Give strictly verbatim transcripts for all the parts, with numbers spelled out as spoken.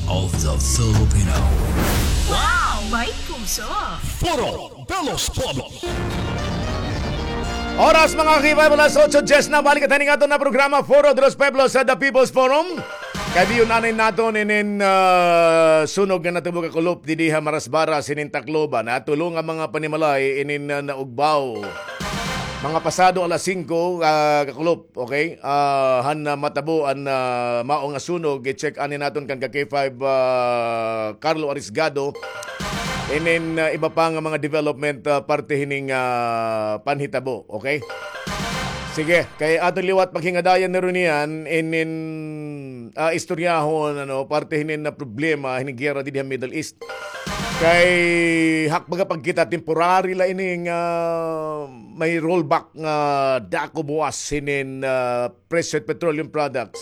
of the Filipino. Wow! May puso! Foro de los Pueblos. Oras, mga ka-K five, alas otso diyes na. Balik kita ning aton nga programa, Foro de los Pueblos, sa The People's Forum. Kay diyon anay naton inin, ah, sunog nga natabo kakulop didi ha Marasbaras hinin Tacloban. Tulo nga mga panimalay inin, ah, naugbaw. Mga pasado alas singko, ah, kakulop. Okay? Ah, han, ah, matabo an, ah, mao nga sunog, i-check anay naton kan ka-K five, ah, Carlo Arisgado. Inin, ah, iba pa nga mga development, ah, parte hining, ah, panhitabo. Okay? Sige, kay aton liwat paghingadayan na rin yan, inin, ah, istoryahon, ano, parte hinin na problema, hining giyera didi ha Middle East. Kay hakbaga pagkita temporary la ini nga may rollback nga dako buwas hinin, ah, presyo it petroleum products.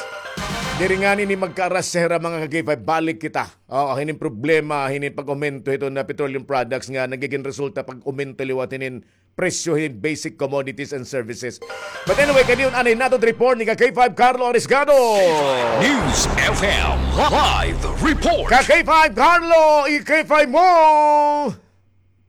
Diri ngani ini magkaaras sa hira mga ka-K five, balik kita. Oo, hinin problema, hinin pag-aumento hiton nga petroleum products nga nagigin resulta pag-aumento liwat hinin presyo hin basic commodities and services. But anyway, kay diyon anay naton report ni ka-K five Carlo Arisgado. News F M live report. Ka-K five Carlo, i-K five mo!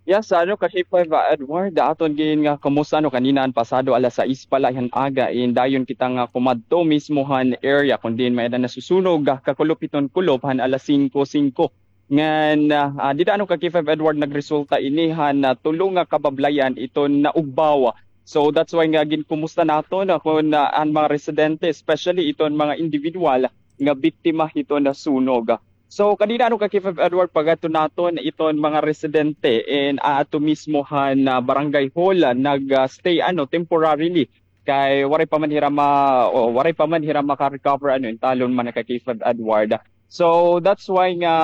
Yes, ano, ka-K five, ah, Edward, aton gin nga kumusta, ano, kanina an pasado alas sais pa la han aga, in dayon kita nga kumadto mismo han area kun diin may-ada nasusunog, ah, kakulop hiton kulop han alas singko singko. Ngan, ah, ah, dida, ano, ka-K five Edward, nagresulta ini han, ah, tulo nga kabablayan iton naugbaw. So that's why nga ginkumusta naton, ah, kun, ah, an mga residente, especially iton mga individual nga biktima hiton nasunog. So kanina, ano, ka-K five Edward, pag-adto naton iton mga residente in aadto mismo han, ah, barangay hall, ah, nag, ah, stay, ano, temporarily. Kay waray pa man hira ma-, o, waray pa man hira maka-recover, ano, in talon man, ka-K five Edward. So that's why nga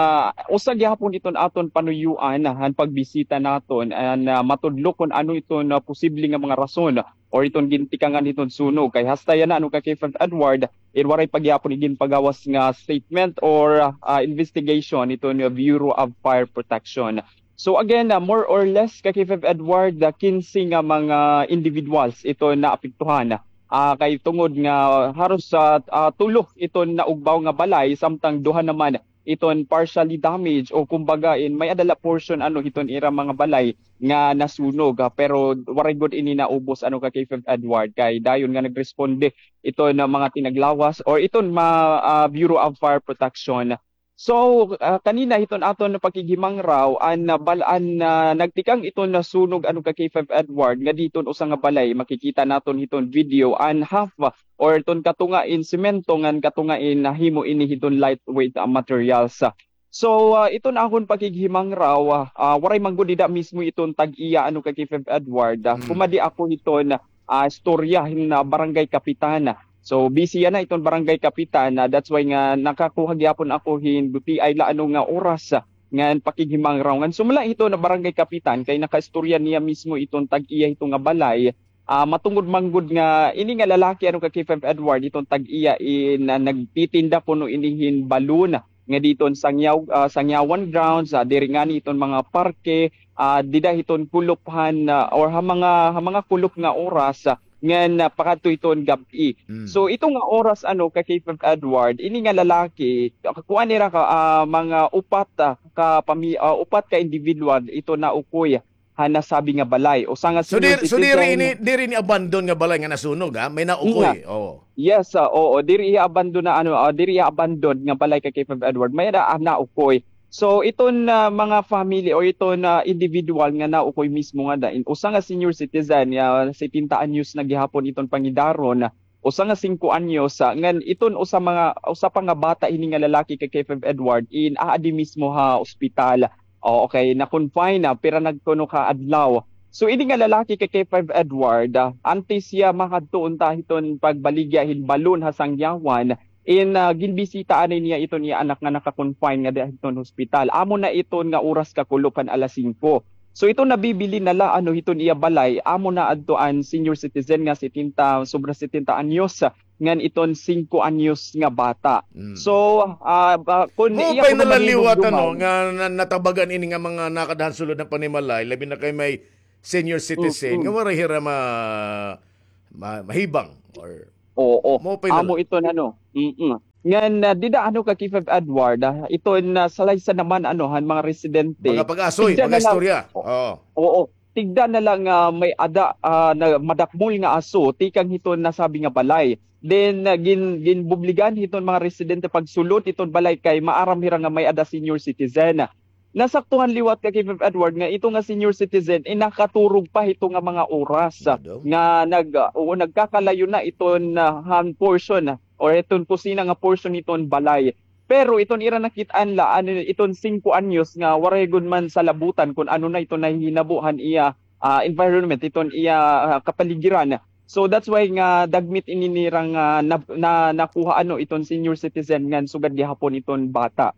usa gihapon iton aton panuyuan han pagbisita naton, an, ah, matudlo kun ano iton, ah, posible nga mga rason or iton gintikangan hiton sunog. Kay hasta yana, ano, ka-K five Edward, it waray pa gihapon iginpagawas nga statement or, ah, investigation iton Bureau of Fire Protection. So again, ah, more or less, ka-K five Edward, ah, kinse nga mga individuals iton naapektuhan. Ah, kay tungod nga haros sa, ah, tulo iton naugbaw nga balay, samtang duha naman iton partially damaged o kumbaga in may-ada la portion, ano, hiton ira mga balay nga nasunog, ah, pero waray gud ini naubos, ano, ka-K five Edward, kay dayon nga nagresponde iton mga tinaglawas or iton ma-, ah, Bureau of Fire Protection. So, ah, kanina hiton aton pakighimangraw, an, ah, bal-, an, ah, nagtikang iton nasunog, ano, ka-K five Edward, nga diton usa nga balay, makikita naton hiton video, an half, ah, or iton katunga in semento ngan katunga in nahimo ini hiton lightweight, ah, materials. So, ah, iton akon pakighimangraw, ah, ah, waray man gud dida mismo iton tag-iya, ano, ka-K five Edward, ah, kumadi ako hiton, ah, istorya hin, ah, barangay kapitan. So busy yana iton barangay kapitan, ah, that's why nga nakakuha gihapon ako hin gutiay la, ano, nga oras, ah, ngan pakighimangraw. Ngan sumala hiton barangay kapitan kay nakaistorya niya mismo iton tag-iya hito nga balay. Ah, matungod man gud nga ini nga lalaki, ano, ka-K five Edward, iton tag-iya in, ah, nagtitinda kuno ini hin balon nga diton Sangyaw-, ah, Sangyawan grounds, ah, diri ngani iton mga parke, ah, dida hiton kulop han, ah, or ha mga, ha mga kulop nga oras, ah, ngan, ah, pakadto hiton gab-i. So ito nga oras, ano, ka-K five Edward, ini nga lalaki, ah, kuan nira ka, ah, mga upat, ah, ka pami-, ah, upat ka individual ito naukoy ha nasabi nga balay. Usa nga senior citizen. So diri, so diri ini, diri ini abandon nga balay nga nasunog, ha? May naukoy. Oo. Yes, ah, oo. Diri iya abandon na, ano, ah, diri iya abandon nga balay, ka-K five Edward. May-ada, ah, naukoy. So iton, ah, mga family o iton, ah, individual nga naukoy mismo ngada, in usa nga senior citizen nga setenta anyos na gihapon iton pangidaron, usa nga singko anyos, ah, ngan iton usa mga, usa pa nga bata hini nga lalaki, ka-K five Edward, in aadi mismo ha ospital. O, okay, na-confine na, pira na kuno ka adlaw. So ini nga lalaki, ka-K five Edward, ah, antes hiya makadto unta hiton pagbaligya hin balon ha Sangyawan, in, ah, ginbisita anay niya iton iya anak nga naka-confine ngada hiton hospital. Amo na iton nga oras kakulop han alas singko. So iton nabibilin na la, ano, hiton iya balay, amo na adto an senior citizen nga setenta, sobra setenta anyos, ngan iton singko anyos nga bata. So, ah, ba, kun iya kuno manhinumduman, ano, nga na-, natabagan ini nga mga nakada han sulod nga panimalay, labi na kay may senior citizen, nga waray hira ma-, ma-, mahibang or... Oo. Amo iton, ano. Mm. Ngan, ah, dida ano ka K five Edward, ah, iton, ah, salaysa naman ano han mga residente. Mga pag-asoy, tigda mga na lang, istorya. Oo. Oo. Tigda na lang, ah, may-ada, ah, na madakmol nga aso tikang hiton nasabi nga balay. Then, ah, gin-, ginbubligan hiton mga residente pagsulod hiton balay kay maaram hira nga may-ada senior citizen. Nasaktuhan liwat ka K five Edward nga ito nga senior citizen, eh, nakaturog pa hito nga mga oras, ah, nga nag-, ah, oo, nagkakalayo na iton, ah, han portion, ah, or iton kusina nga portion hiton balay. Pero iton ira nakit-an la, ano, iton singko anyos nga waray gud man salabutan kon ano na iton nahihinabo han iya, ah, environment, iton iya, ah, kapaligiran. So that's why nga dagmit ini nira nga na, na, nakuha ano iton senior citizen ngan sugad gihapon iton bata.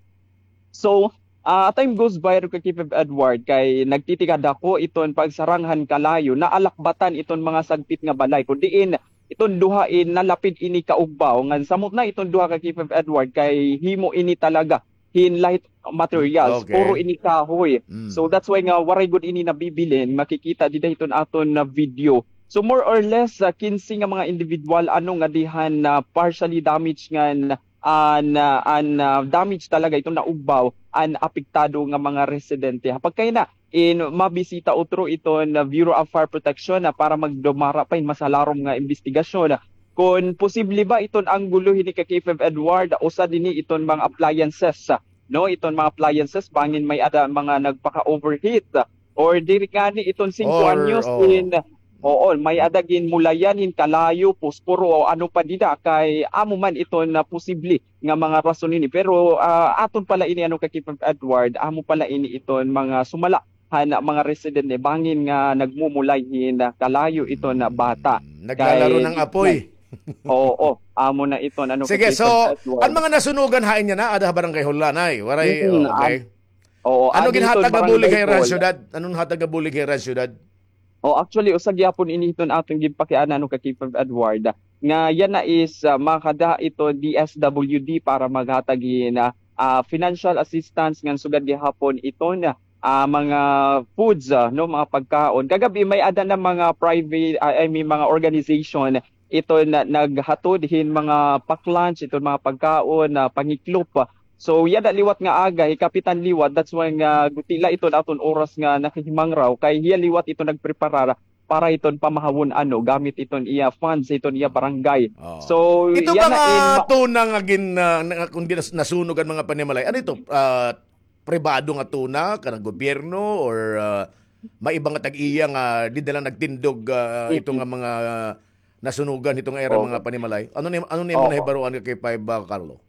So, ah, time goes by, Rika K five Edward, kay nagtitikadako iton pagsarang han kalayo, naalakbatan iton mga sagpit nga balay, kun diin iton duha in nalapid ini kaugbaw, ngan samot na iton duha ka K five Edward, kay himo ini talaga hin light materials, okay, puro ini kahoy. Mm. So that's why nga waray gud ini nabibilin, makikita dida hiton aton na video. So more or less, ah, kinse nga mga individual ano nga dihan na partially damaged ngan an, ah, an, ah, damage talaga iton naugbaw an apektado nga mga residente. Ha pagkayana, in mabisita utro iton, ah, Bureau of Fire Protection, ah, para magdumara pa hin mas halarom nga imbestigasyon. Kon posible ba iton anggulo hini ka K five Edward, usa dinhi iton mga appliances, ah, no, iton mga appliances bangin may-ada mga nagpaka-overheat, ah, or diri ngani iton singko anyos in Oo, may-ada ginmulayan hin kalayo, posporo, o ano pa dida, kay amo man iton na posible nga mga rason ini. Pero, ah, aton pala ini, ano, ka K five Edward, amo pala ini iton mga sumala han mga residente bangin nga nagmumulay hin kalayo iton na bata. Hmm, naglalaro ng apoy. Oo, amo na iton, ano, ka K five Edward. Sige, so, an mga nasunugan hain yana, ada ha Barangay Hol, Nay? Waray, oo, okay. Oo, ano ginhatag nga bulig ha ira han syudad? Ano ginhatag nga bulig ha ira han syudad? Oh, actually, usa gihapon ini iton aton ginpakiana, ano, ka K five Edward, nga yana is, ah, makada ito D S W D para maghatag hin, ah, ah, financial assistance ngan sugad gihapon iton, ah, mga foods, ah, no, mga pagkaon. Kagab-i may-ada na mga private, ah, I mean, mga organization iton naghatod hin mga pack lunch, iton mga pagkaon, ah, pangiklop. So, yana liwat nga aga, hikapitan liwat, that's why nga guti la iton aton oras nga nakahimangraw, kay hiya liwat iton nagpreparar para iton pamahawon, ano, gamit iton iya funds, iton iya barangay. Oo. So, ito yana ba nga tuna nga gin-, ah, nga, kundi nas-, nasunog an mga panimalay, ano ito? Ah, pribado nga tuna, kanang gobyerno, or, ah, may iba nga tag-iya nga dida la nagtindog, ah, ito nga mga nasunugan hito nga ira mga panimalay? Ano ni, ano ni imo nahibaroan ka K five, ah, Carlo?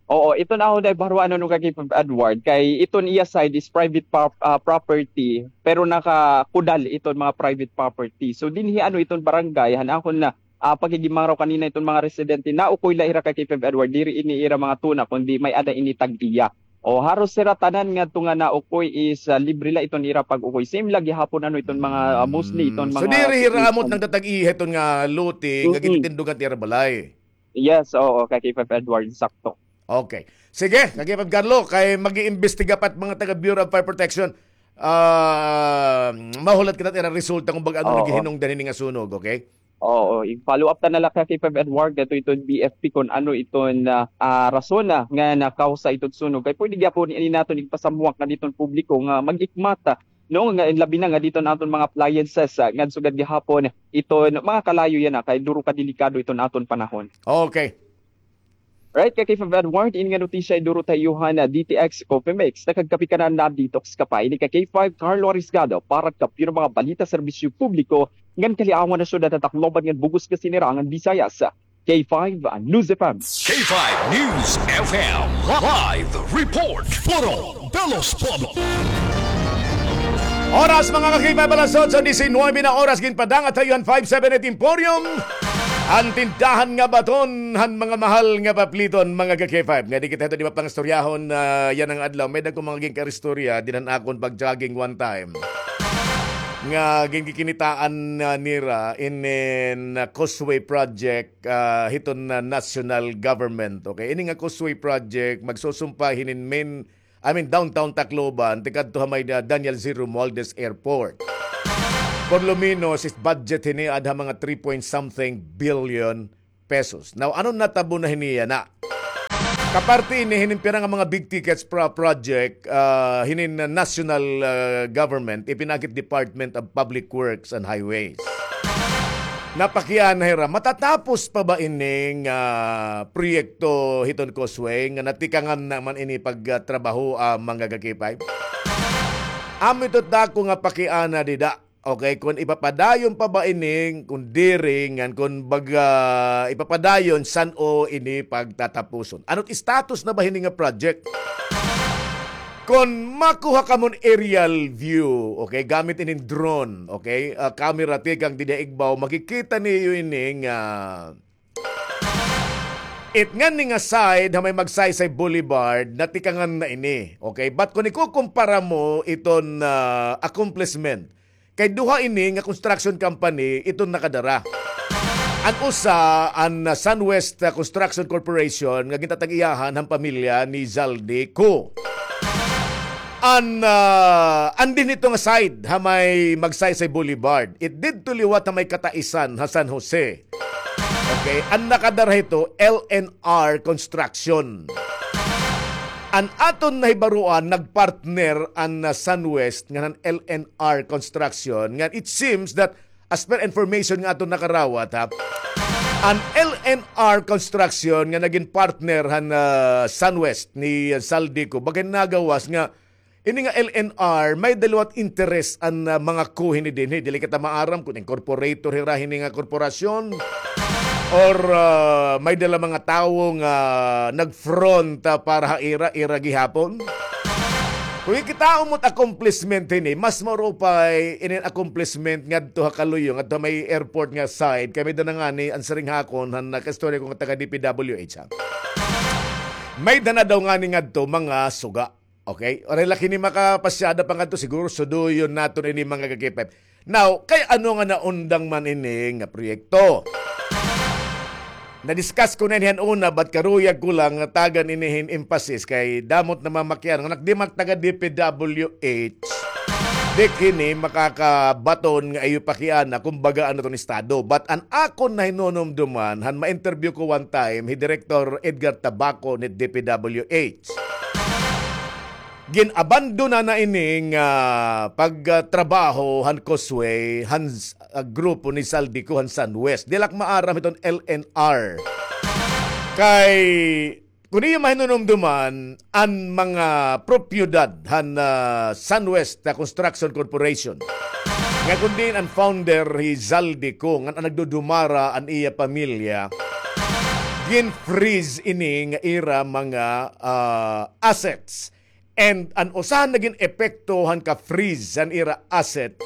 Oo, iton akon nahibaroan, ano, ka K five Edward, kay iton iya side is private pop-, ah, property, pero nakakudal iton mga private property. So, dinhi, ano, iton barangay, han akon na, ah, paghihimangraw kanina iton mga residente, naukoy la hira ka K five Edward, diri ini ira mga tuna, kundi may-ada ini tag-iya. O, haros hira tanan ngadto nga naukoy is, ah, libre la iton ira pag-ukoy. Same la gihapon, ano, iton mga, ah, mostly iton mga... So, diri hira amo it nagtatag-iya hiton nga lote nga ginitindugan it ira balay? Yes, oo, ka K five Edward, sakto. Okay. Sige, ka K five Carlo, kay mag-iimbestiga pa it mga taga Bureau of Fire Protection. Ah, mahulat kita it ira resulta kon bag-o ano naghihinungdan hini nga sunog, okay? Oo, i-follow up ta na la ka K five Edward, ngadto iton B F P kon ano iton, ah, ah, rason, ah, nga nakawsa iton sunog. Kay pwede gyapon ini naton igpasamwak ngadto iton publiko nga mag-ikmat, ah, no, nga labi na ngadto iton aton mga appliances, ah, ngan sugad gihapon iton mga kalayo yana, kay duro ka delikado iton aton panahon. Okay. Right, ka K five Edward, ini nga notisya iduro ta ha iyo han D T X Coffee Mix. Nakagkape ka na, na-detox ka pa. Ini ka K five, Carlo Arisgado, para ha Kampiyon nga mga balita, serbisyo publiko, ngan kaliawan han syudad han Tacloban ngan bug-os nga sinirangan Visayas. K five News F M. K five News F M live report. Puro Belos Pueblo. Oras, mga ka-K five, alas otso disinuybe na oras, ginpadangat ha iyo han five seven eight Emporium, an tindahan nga baton han mga mahal nga papliton, mga ka-K five. Nga di kita hito di mapangistoryahon, ah, yana nga adlaw. May dagko mga ginkaristorya dinhi han akon pag-jogging one time nga ginkikinitaan, ah, nira inin, ah, causeway project, ah, hiton, ah, national government. Okay, ini nga causeway project magsusumpa hinin main, I mean, downtown Tacloban, tikadto ha may, ah, Daniel Z. Romualdez Airport. Por lo menos, is budget hini adha mga three point something billion pesos. Now, ano natabo na hini yana? Aparte ini, hinin pira nga mga big tickets pro-, project, ah, hinin national, ah, government, ipinaagi hit Department of Public Works and Highways. Napakiana hira, matatapos pa ba ini nga proyekto hiton causeway nga natikangan na man ini pagtrabaho, ah, mga ka-K five? Amo ito dako nga pakiana dida. Okay, kon ipapadayon pa ba ini, kon diri, ngan kon baga ipapadayon, san-o ini pagtatapuson? Ano it status na ba hini nga project? Kon makuha kamon aerial view, okay, gamit inin drone, okay, ah, camera tikang dida igbaw, makikita niyo ini nga it ngani nga side ha may Magsaysay Boulevard, natikangan na ini. Okay? But kung ikukumpara mo iton, ah, accomplishment, kay duha ini nga construction company iton nakadara. An usa, an, ah, Sunwest, ah, Construction Corporation nga gintatag-iyahan han pamilya ni Zaldy Co. An, ah, an dinhi ito nga side ha may Magsaysay Boulevard. It didto liwat ha may Cataisan ha San Jose. Okay, an nakadara hito, L N R Construction. An aton nahibaruan, nagpartner an, ah, Sunwest ngan an L N R Construction. Ngan it seems that, as per information nga aton nakarawat, ha, an L N R Construction nga nagin partner han, ah, Sunwest ni, ah, Zaldy Co, baga nagawas nga ini nga L N R, may-ada liwat interest an, ah, mga Co hini dinhi. Dili kita maaram kon incorporator hira hini nga korporasyon or, ah, may-ada la mga tawo nga nag-front, ah, para ha ira, ira gihapon. Kung kikitaon mo it accomplishment hini, mas maupay inin accomplishment ngadto ha kaluyo, ngadto ha may airport nga side, kay may-ada na ngani an siring ha akon han nakaistorya ko nga taga D P W H, ha. May-ada na daw ngani ngadto mga suga. Okay? Waray la kini makapasyada pa ngadto, siguro suduyon naton ini, mga ka-K five. Now, kay ano nga naundang man ini nga proyekto? Na-discuss ko na ini han una, but karuyag ko lang nga tagan ini hin emphasis kay damo it namamakiana nga kon di man taga D P W H, di kini makakabaton nga iyo pakiana, kumbaga, ano iton estado. But an akon nahinunumduman, han ma-interview ko one time, hi Director Edgar Tabaco ni D P W H. Gin-abandona na ini nga pagtrabaho han causeway han s-, ah, grupo ni Zaldy Co han Sunwest. Diri la ak maaram hiton L N R. Kay, kon iyo mahinunumduman, an mga propiedad han, ah, Sunwest, ah, Construction Corporation, nga kon diin an founder hi Zaldy Co, ngan an nagdudumara an iya pamilya, gin-freeze ini nga ira mga, ah, assets. And an usa han nagin epekto han ka-freeze han ira asset,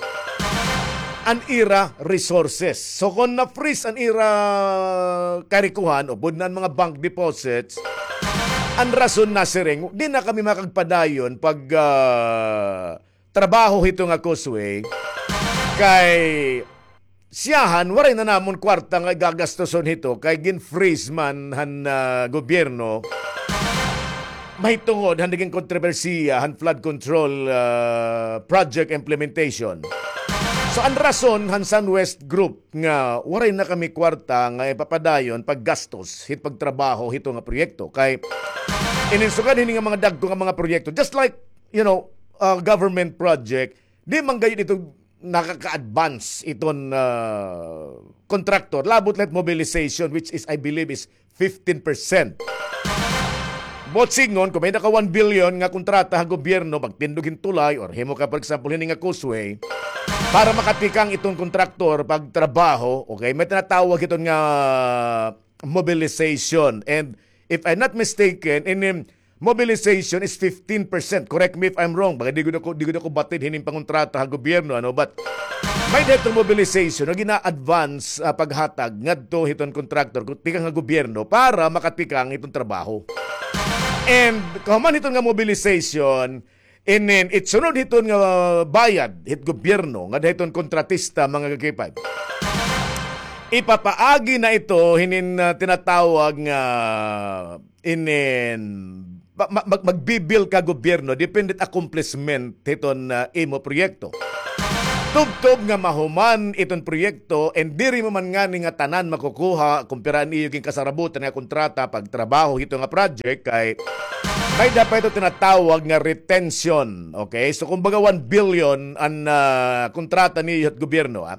an ira resources. So, kon na-freeze an ira karikohan, upod na an mga bank deposits, an rason nasiring, di na kami makagpadayon pag, ah, trabaho hito nga causeway. Kay siyahan, waray na namon kwarta nga igagastuson hito kay gin-freeze man han, ah, gobyerno. Mahitungod han nagin kontrobersiya han flood control, ah, project implementation. So, an rason han Sunwest Group nga waray na kami kwarta nga ipapadayon paggastos hit pagtrabaho hito nga proyekto. Kay inin sugad hini nga mga dagko nga mga proyekto, just like, you know, ah, government project, di man gayod ito nakaka-advance iton, ah, contractor. Labot la it mobilization, which is, I believe, is fifteen percent. Buot sidngon, kon may-ada ka one billion nga kontrata ha gobyerno, pagtindog hin tulay, or himo ka, for example, hini nga causeway, para makatikang iton kontraktor pagtrabaho, okay, may tinatawag iton nga mobilization. And if I'm not mistaken, in, um, mobilization is fifteen percent. Correct me if I'm wrong. Baga di gud ako, di gud ako batid hinin pangontrata ha gobyerno, ano, but may-ada hiton mobilization nga gina-advance, ah, paghatag ngadto hiton contractor, kun tikang ha gobyerno para makatikang hiton trabaho. And kahuman hiton nga mobilization, inin, it sunod hiton nga bayad hit gobyerno ngada hiton kontratista, mga ka-K five, ipapaagi na ito hinin, ah, tinatawag nga inin, ma-, ma-, mag-, magbibil ka gobyerno, depende it accomplishment hiton, ah, imo proyekto. Tubtob nga mahuman iton proyekto, and diri mo man ngani nga tanan makukuha kon pira an iyo ginkasarabutan nga kontrata pagtrabaho hito nga project, kay may-ada pa ito tinatawag nga retention. Okay? So, kumbaga, one billion an, ah, kontrata niyo hit gobyerno, ha?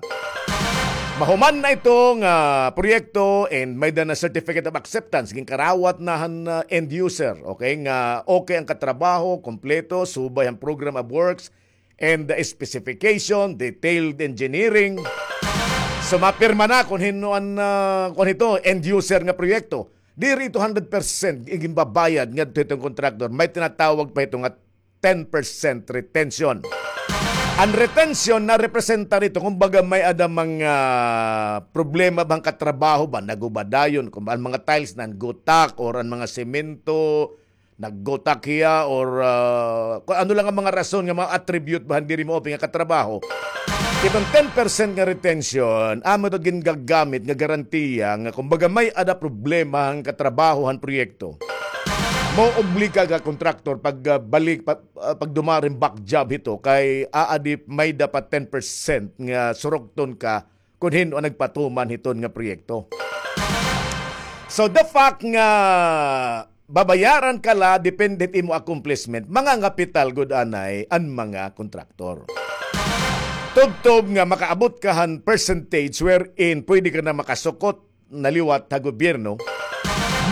Mahuman na ito nga proyekto and may-ada na certificate of acceptance, ginkarawat na han, ah, end user, okay, nga okay an katrabaho, kompleto, subay han program of works, and the specification, detailed engineering. So, mapirma na kon hin-o an, ah, kon hito, end user nga proyekto. Diri ito hundred percent ginbabayad ngadto hiton contractor. May tinatawag pa hito nga ten percent retention. An retention narepresenta hito, kumbaga, may-ada mga problema ba han katrabaho ba, naguba dayon, kun an mga tiles nangutak, or an mga semento, naggutak hiya, or, ah, kun ano lang an mga rason nga mga attribute ba han diri maupay nga katrabaho. Iton ten percent nga retention, amo ito gingagamit nga garantiya nga, kumbaga, may-ada problema han katrabaho han proyekto, maobliga ka kontraktor pag, ah, balik, pa-, ah, pagdumara hin back job hito, kay aadi may-ada pa ten percent nga surukton ka kon hin-o an nagpatuman hiton nga proyekto. So, the fact nga babayaran ka la depende hit imo accomplishment, mangangapital gud anay an mga kontraktor. Tubtob nga makaabot ka han percentage wherein pwede ka na makasukot na liwat ha gobyerno,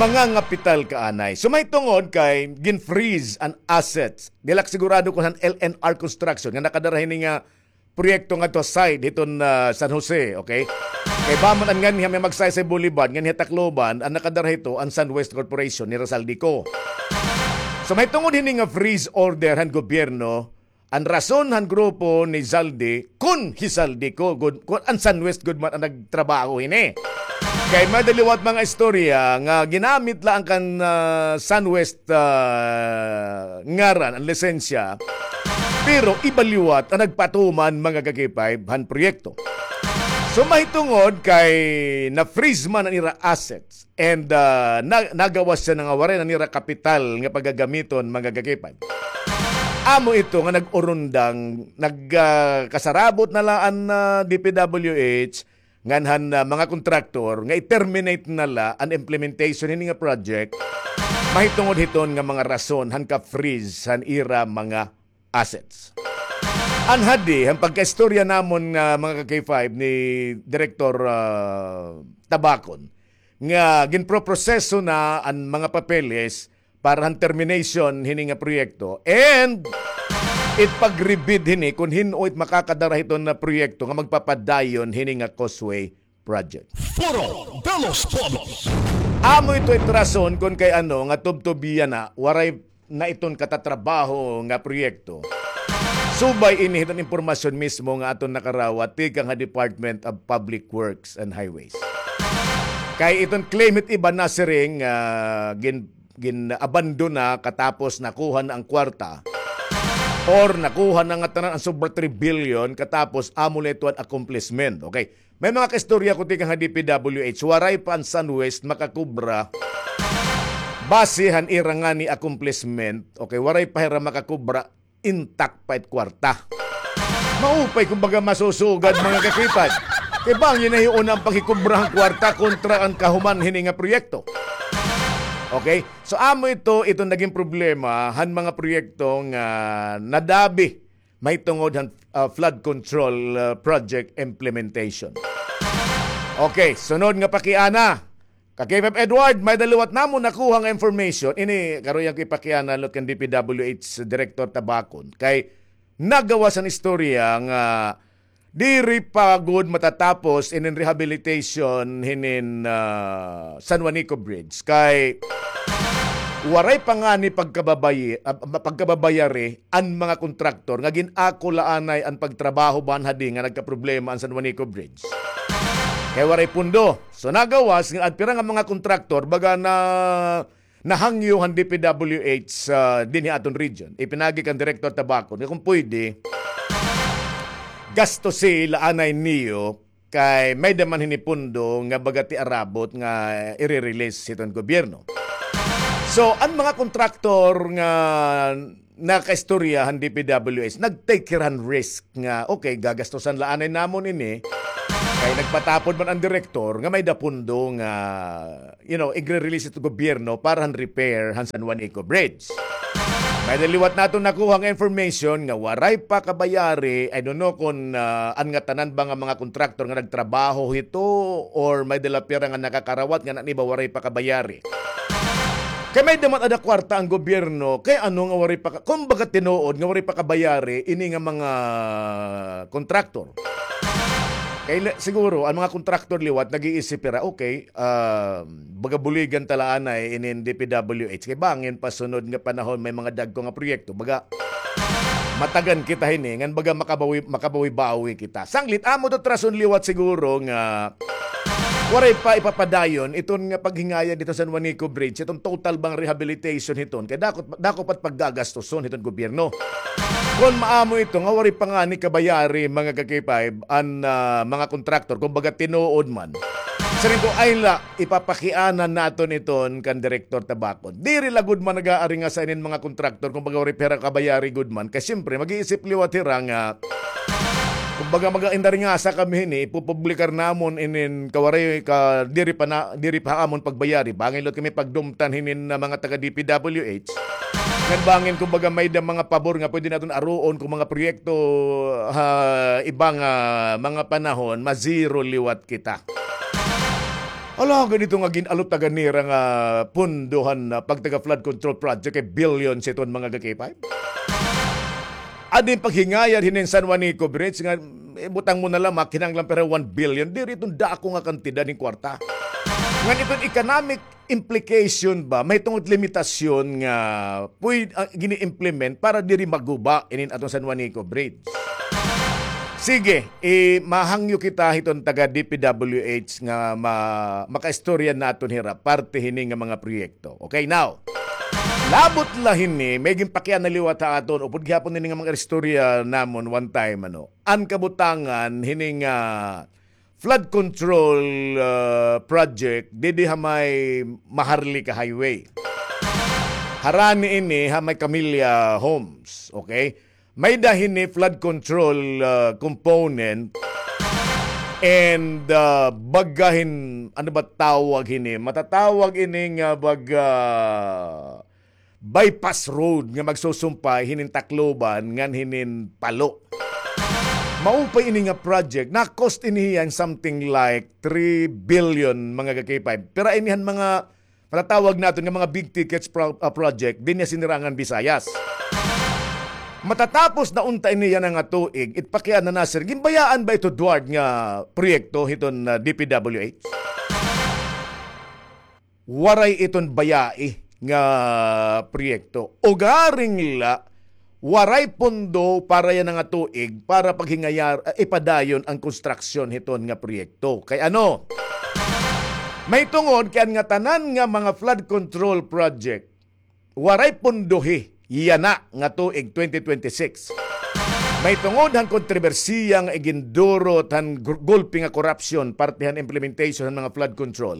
mangangapital ka anay. So, mahitungod kay gin-freeze an assets. Di la ak sigurado kon han L N R Construction nga nakadara hini nga proyekto ngadto ha side hiton, ah, San Jose, okay? Kay bamon an nganhi ha may Magsaysay Boulevard, nganhi ha Tacloban, an nakadara hito an Sunwest Corporation ni Zaldy Co. So, mahitungod hini nga freeze order han gobyerno, an rason han grupo ni Zaldy, kon hi Zaldy Co gud, kon an Sunwest gud man an nagtrabaho hini. Kay may-ada liwat mga istorya nga ginamit la an kan, ah, Sunwest, ah, ngaran, an lisensya, pero iba liwat an nagpatuman, mga ka-K five, han proyekto. So, mahitungod kay na-freeze man an ira assets and, ah, na-, nagawas hiya nga waray na nira kapital nga pagagamiton, mga ka-K five. Amo ito nga nag-urundang, nag, ah, kasarabot na la an, ah, D P W H ngan han, ah, mga kontraktor nga i-terminate na la an implementation hini nga project, mahitungod hiton nga mga rason han ka-freeze han ira mga assets. An hadi han pagkaistorya namon nga, mga ka-K five, ni Direktor, ah, Tabacon, nga ginproproseso na an mga papeles para han termination hini nga proyekto, and it pag-rebid hini kon hin-o it makakadara hiton nga proyekto nga magpapadayon hini nga causeway project. Foro de los Pueblos. Amo ito it rason kon kay ano nga tubtob yana, waray na iton katatrabaho nga proyekto. Subay ini hiton impormasyon mismo nga aton nakarawat tikang ha Department of Public Works and Highways. Kay iton claim hit iba nasiring nga gin-, gin-abandona katapos nakuha na an kwarta, or nakuha na ngatanan an sobra three billion katapos amo la ito an accomplishment. Okay. May mga kaistorya ko tikang ha D P W H, waray pa an Sunwest makakubra base han ira ngani accomplishment. Okay, waray pa hira makakubra, intact pa it kwarta. Maupay, kumbaga, masusugad, mga ka-K five. Kay bangin na hiuna an paghikubra han kwarta kontra an kahuman hini nga proyekto. Okay? So, amo ito, ito naging problema han mga proyekto nga nadabi mahitungod han, ah, flood control, ah, project implementation. Okay, sunod nga pakiana. Ka-K five Edward, may-ada liwat namon nakuha nga information. Ini, karuyag ko ipakiana liwat kan D P W H Director Tabacon. Kay nagawas an istorya nga diri pa gud matatapos inin rehabilitation hinin, ah, San Juanico Bridge. Kay waray pa ngani pagkababayi-, ah, pagkababayari an mga kontraktor nga gin-ako la anay an pagtrabaho ban hadi nga nagkaproblema an San Juanico Bridge. Kay waray pundo. So, nagawas nga an pira nga mga kontraktor, baga na, nahangyo han D P W H, ah, dinhi ha aton region. Ipinagi kan Director Tabacon nga kon pwede, gastusi la anay niyo kay may-ada man hini pundo nga baga ti arabot nga ire-release hiton gobyerno. So, an mga kontraktor nga nakaistorya han D P W H, nag-take hira han risk nga, okay, gagastusan la anay namon ini, kay nagpatapod man an direktor nga may-ada pondo nga, you know, igre-release hito gobyerno para han repair han San Juanico Bridge. May-ada liwat naton nakuha nga information nga waray pa kabayari, I don't know kon, ah, an ngatanan ba nga mga kontraktor nga nagtrabaho hito or may-ada la pira nga nakakarawat ngan an iba waray pa kabayari. Kay may-ada man ada kwarta an gobyerno, kay ano nga waray pa ka-, kumbaga tinuod nga waray pa kabayari ini nga mga kontraktor. Kay li-, siguro, an mga kontraktor liwat, nag-iisip hira, okay, ah, baga buligan ta la anay inin D P W H. Kay bangin pa sunod nga panahon may mga dagko nga proyekto. Baga, matagan kita hini, ngan baga makabawi-, makabawi-bawi kita. Sanglit, amo ito rason liwat siguro nga waray pa ipapadayon iton nga paghingayad hiton San Juanico Bridge, iton total ba nga rehabilitation hiton. Kay dako, dako pa it paggagastuson hiton gobyerno. Kon maamo ito nga waray pa ngani kabayari, mga ka-K five, an, ah, mga kontraktor, kumbaga tinuod man. Siring ko, ay la, ipapakianan naton iton kan Direktor Tabacon. Diri la gud man nag-aaringasa inin mga kontraktor, kumbaga waray pa hira kabayari gud man. Kay siyempre, mag-iisip liwat hira nga, kumbaga, mag-indaringasa kami hini, ipupublikar namon inin kawaray ka, diri pa na, diri pa amon pagbayari. Bangin liwat kami pagdumtan hinin na mga taga D P W H. Ngan bangin, kumbaga, may-ada mga pabor nga pwede naton aruon kon mga proyekto ha iba nga mga panahon, ma-zero liwat kita. Hala, ganito nga gin-alutagan nira nga pondo han, ah, pagtaga flood control project kay billions iton, mga ka-K five. Adi an paghingayad hinin San Juanico Bridge nga, eh, butang mo na la, makinahanglan pa hira one billion. Diri iton dako nga kantidad hin kwarta. Ngan iton economic implication ba, mahitungod limitasyon nga pwede, ah, gini-implement para diri maguba inin aton San Juanico Bridge. Sige, eh, mahangyo kita hiton taga D P W H nga ma-, makaistorya naton hira parte hini nga mga proyekto. Okay, now, labot la hini, may ginpakiana liwat ha aton, upod gihapon hini nga mga istorya namon one time, ano, an kabutangan hini nga flood control, ah, project didi ha may Maharlika Highway. Harani ini ha may Camilla Homes, okay? May-ada hini flood control, ah, component and, ah, baga hin, ano ba tawag hini? Matatawag ini nga baga bypass road nga magsusumpay hinin Tacloban ngan hinin Palo. Maupay ini nga project, na-cost ini hiya hin something like three billion, mga ka-K five. Pero ini han mga matatawag naton nga mga big tickets pro-, ah, project dinhi ha Sinirangan Visayas. Matatapos na unta ini yana nga tuig, it pakiana na, sir, ginbayaan ba ito Duarte nga proyekto hiton, ah, D P W H? Waray iton bayai nga proyekto. Ugaring la, waray pondo para yana nga tuig para paghingayar-, ah, ipadayon an konstruksyon hiton nga proyekto. Kay ano? Mahitungod kay an ngatanan nga mga flood control project, waray pondohi yana nga tuig twenty twenty-six. Mahitungod han kontrobersiya nga igindurot han gul-, gulpi nga korupsyon parte han implementation han mga flood control.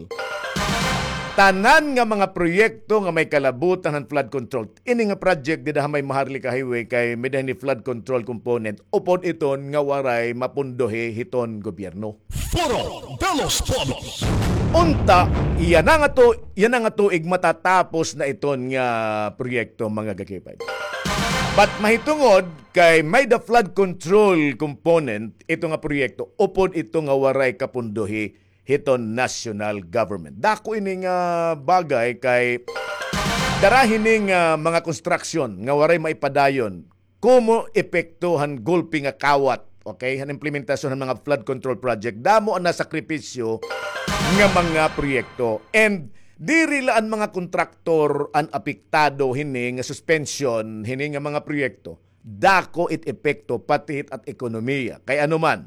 Tanan nga mga proyekto nga may kalabutan han flood control. Ini nga project dida ha may Maharlika Highway kay may-ada hini flood control component. Upod iton nga waray mapondohi hiton gobyerno. Foro de los Pueblos. Unta, yana nga tu-, yana nga tuig matatapos na iton nga proyekto, mga ka-K five. But mahitungod kay may-ada flood control component ito nga proyekto, upod ito nga waray kapondohi hiton national government. Dako ini nga bagay kay dara hini nga mga construction nga waray maipadayon komo epekto han gulpi nga kawat, okay, han implementasyon han mga flood control project. Damo an nasakripisyo nga mga proyekto. And diri la an mga kontraktor an apektado hini nga suspension hini nga mga proyekto. Dako it epekto pati hit at ekonomiya. Kay ano man,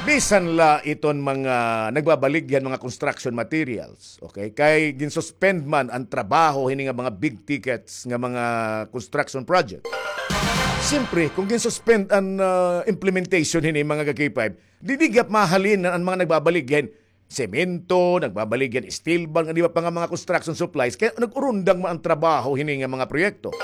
bisan la iton mga nagbabaligya han mga construction materials, okay? Kay ginsuspend man an trabaho hini nga mga big tickets nga mga construction project. Siyempre, kung ginsuspend an, ah, implementation hini, mga ka-K five, didi gihap mahalin an mga nagbabaligya hin semento, nagbabaligya hin steel bar, ngan iba pa nga mga construction supplies, kay nag-urundang man an trabaho hini nga mga proyekto.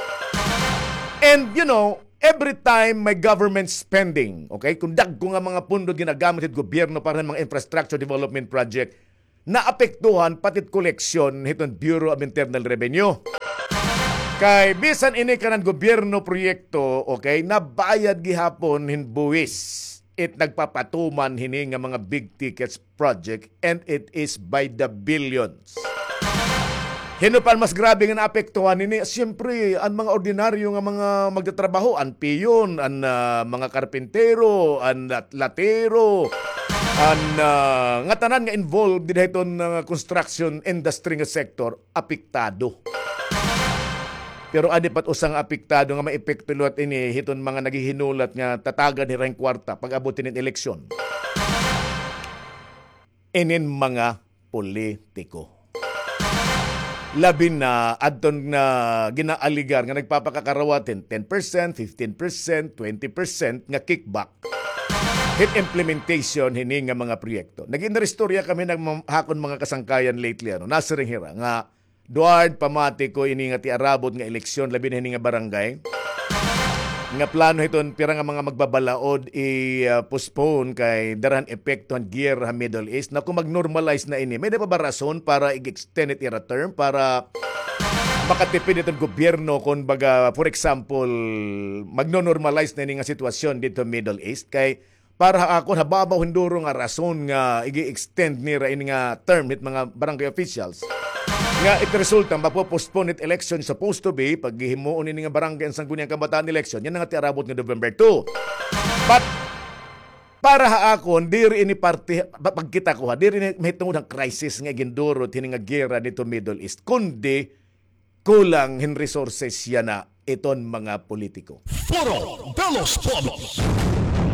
And, you know, every time may government spending, okay, kung dagko nga mga pondo ginagamit hit gobyerno para hin mga infrastructure development project, naapektuhan pati it koleksyon hiton Bureau of Internal Revenue. Kay bisan ini kanan gobyerno proyekto, okay, nabayad gihapon hin buwis. It nagpapatuman hini nga mga big tickets project, and it is by the billions. Hin-o pa an mas grabe nga naapektuhan hini? Siyempre, an mga ordinaryo nga mga magtatrabaho, an piyon, an, ah, mga karpintero, an lat-, latero, an, ah, ngatanan nga involved dida hiton, ah, construction industry nga sector, apektado. Pero adi pa it usa nga apektado nga maepekto liwat ini hiton mga naghihinulat nga tatagan hira hin kwarta pag-abot hinin eleksyon. Inin mga politiko. Labi na adton nga ginaaligar nga nagpapakakarawat hin ten percent, fifteen percent, twenty percent nga kickback hit implementation hini nga mga proyekto. Nag-inistorya kami han akon mga kasangkayan lately, ano, nasiring hira nga Duard, pamati ko ini nga tiarabot nga eleksyon, labi na hini nga barangay. Nga plano hiton pira nga mga magbabalaod i-postpone kay dara han epekto han giyera ha Middle East. Na kung mag-normalize na ini, may-ada pa ba rason para i-extend it ira term para makatipid iton gobyerno, kung baga, for example, magno-normalize na ini nga sitwasyon didto Middle East? Kay para ha akon, ha babaw hin duro nga rason nga igi-extend nira ini nga term hit mga barangay officials. Nga it resulta, mapo-postpone it election supposed to be, paghihimuon ini nga barangay and sangguniang kabataan election, yana nga tiarabot nga November two. But, para ha akon, diri ini parte, pa-, pagkita ko ha, diri ini mahitungod han crisis nga iginduro hini nga giyera didto Middle East, kundi kulang hin resources yana iton mga politiko. Foro de los Pueblos.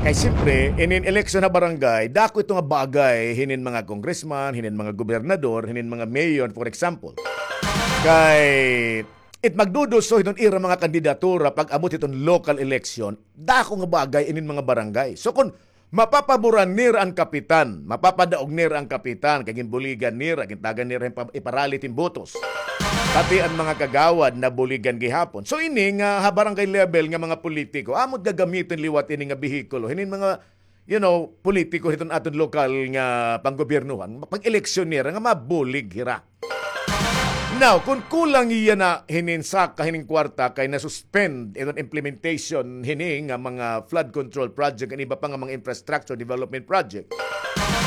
Kay siyempre, inin eleksyon ha barangay, dako ito nga bagay hinin mga congressman, hinin mga gobernador, hinin mga mayor, for example. Kay it magduduso hiton ira mga kandidatura pag-abot hiton local election, dako nga bagay inin mga barangay. So, kun mapapaboran nira an kapitan, mapapadaog nira an kapitan, kay ginbuligan nira, gintagan nira hin pa-, iparalit hin botos. Pati an mga kagawad nabuligan gihapon. So, ini nga ha barangay level nga mga politiko, amo it gagamiton liwat ini nga behikulo hinin mga, you know, politiko hiton aton lokal nga panggobyernohan, pag-eleksyon nira nga mabulig hira. Now, kun kulang yana hinin saka hinin kwarta kay na-suspend iton implementation hini nga mga flood control project and iba pa nga mga infrastructure development project,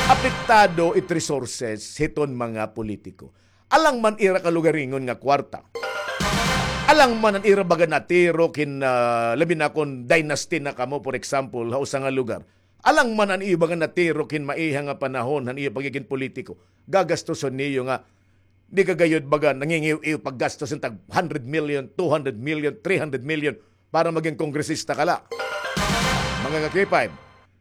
apektado it resources hiton mga politiko. Alang man ira kalugaringon nga kwarta. Alang man an ira baga natirok hin, ah, labi na kon dynasty na kamo, for example, ha usa nga lugar. Alang man an iyo baga natirok hin maiha nga panahon han iyo pagigin politiko. Gagastuson niyo nga di ka gayod baga nangingiw-iw paggastos hin tag hundred million, two hundred million, three hundred million para magin kongresista ka la. Mga ka-K five.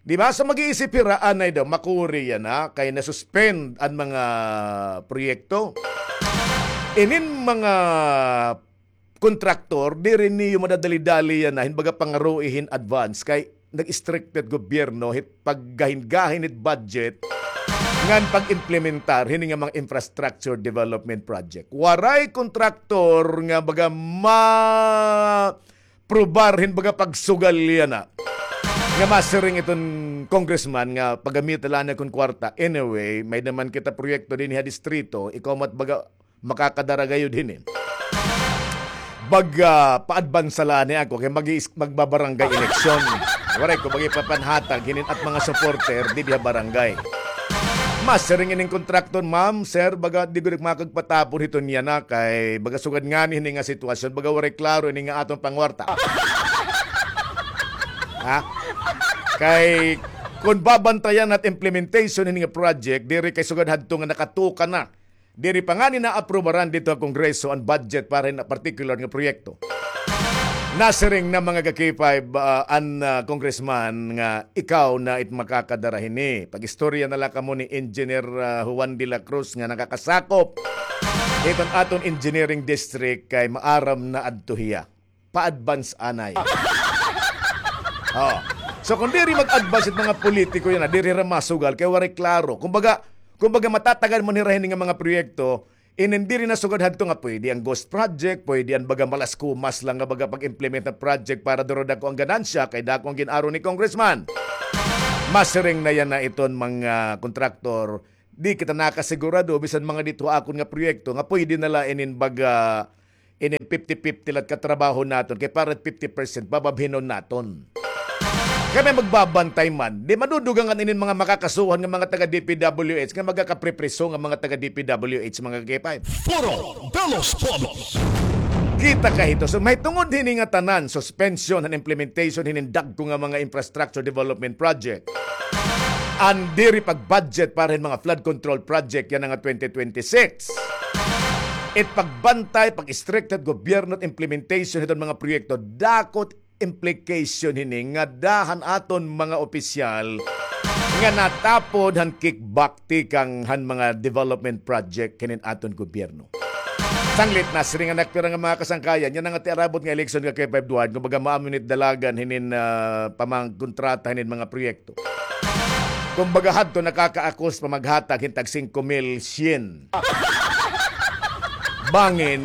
Di ba? So mag-iisip hira anay daw, makuri yana, kay na-suspend an mga proyekto. Inin mga kontraktor, diri niyo madadali-dali yana hin baga pangaroi hin advance kay nag-istrikto it gobyerno hit paggahin-gahin hit budget ngan pag-implementar hini nga mga infrastructure development project. Waray kontraktor nga baga ma-probar hin baga pagsugal yana. Nga masiring iton congressman nga pagamita la anay kon kwarta. Anyway, may-ada man kita proyekto dinhi ha distrito, ikaw man it baga makakadara gayod hini. Baga, paadbansa la anay ako kay mag-iis-, magbabarangay eleksyon. Waray ko baga ipapanhatag hinin at mga supporter didi ha barangay. Masiring ining kontraktor, "Ma'am, sir, baga di gud ak makagpatapon hiton yana kay baga sugad ngani hini nga sitwasyon, baga waray klaro ini nga aton pangwarta." Ha? Kay kon babantayan na't implementation hini nga project, diri kay sugad hadto nga nakatukan na. Diri pa ngani naaprubaran didto ha Kongreso an budget para hin particular nga proyekto. Nasiring na mga ka-K five, ah, an, ah, congressman nga ikaw na it makakadara hini. Pag-istorya na la kamo ni Engineer, ah, Juan de la Cruz nga nakakasakop hiton aton engineering district kay maaram na adto hiya. Pa-advance anay. Oh. So, kung diri mag-advance it mga politiko yana, diri hira masugal, kay waray klaro. Kumbaga, kumbaga, matatagan man hira hini nga mga proyekto, Inin diri na sugad hadto nga pwede an ghost project, pwede an baga malaskumas lang nga baga pag-implement nga project para duro dako an ganansya, kay dako an gin-aro ni Congressman. Masiring na yana iton mga kontraktor, di kita nakasigurado bisan mga didto ha akon nga proyekto nga pwede na la inin baga inin fifty fifty la it katrabaho naton, kay para fifty percent bababhinon naton. Kay may magbabantay man, di madudugangan inin mga makakasuhan nga mga taga D P W H nga magakapripriso nga mga taga D P W H, mga ka-K five. Foro de los Pueblos. Kita ka hito. So, mahitungod hini nga tanan, suspension han implementation hinin dagko nga mga infrastructure development project, an diri pag-budget para hin mga flood control project yana nga twenty twenty-six. It pagbantay, pag-istrikto hit gobyerno it implementation hiton mga proyekto, dako it implication hini ngada han aton mga opisyal nga natapod han kickback tikang han mga development project hinin aton gobyerno. Sanglit, nasiring an nakpira nga mga kasangkayan, yana nga tiarabot nga eleksyon, ka-K five Duarte, kumbaga maamuin it dalagan hinin, ah, pamangkontrata hinin mga proyekto. Kumbaga hadto nakakaakos pa maghatag hin tag singko mil syen. Bangin,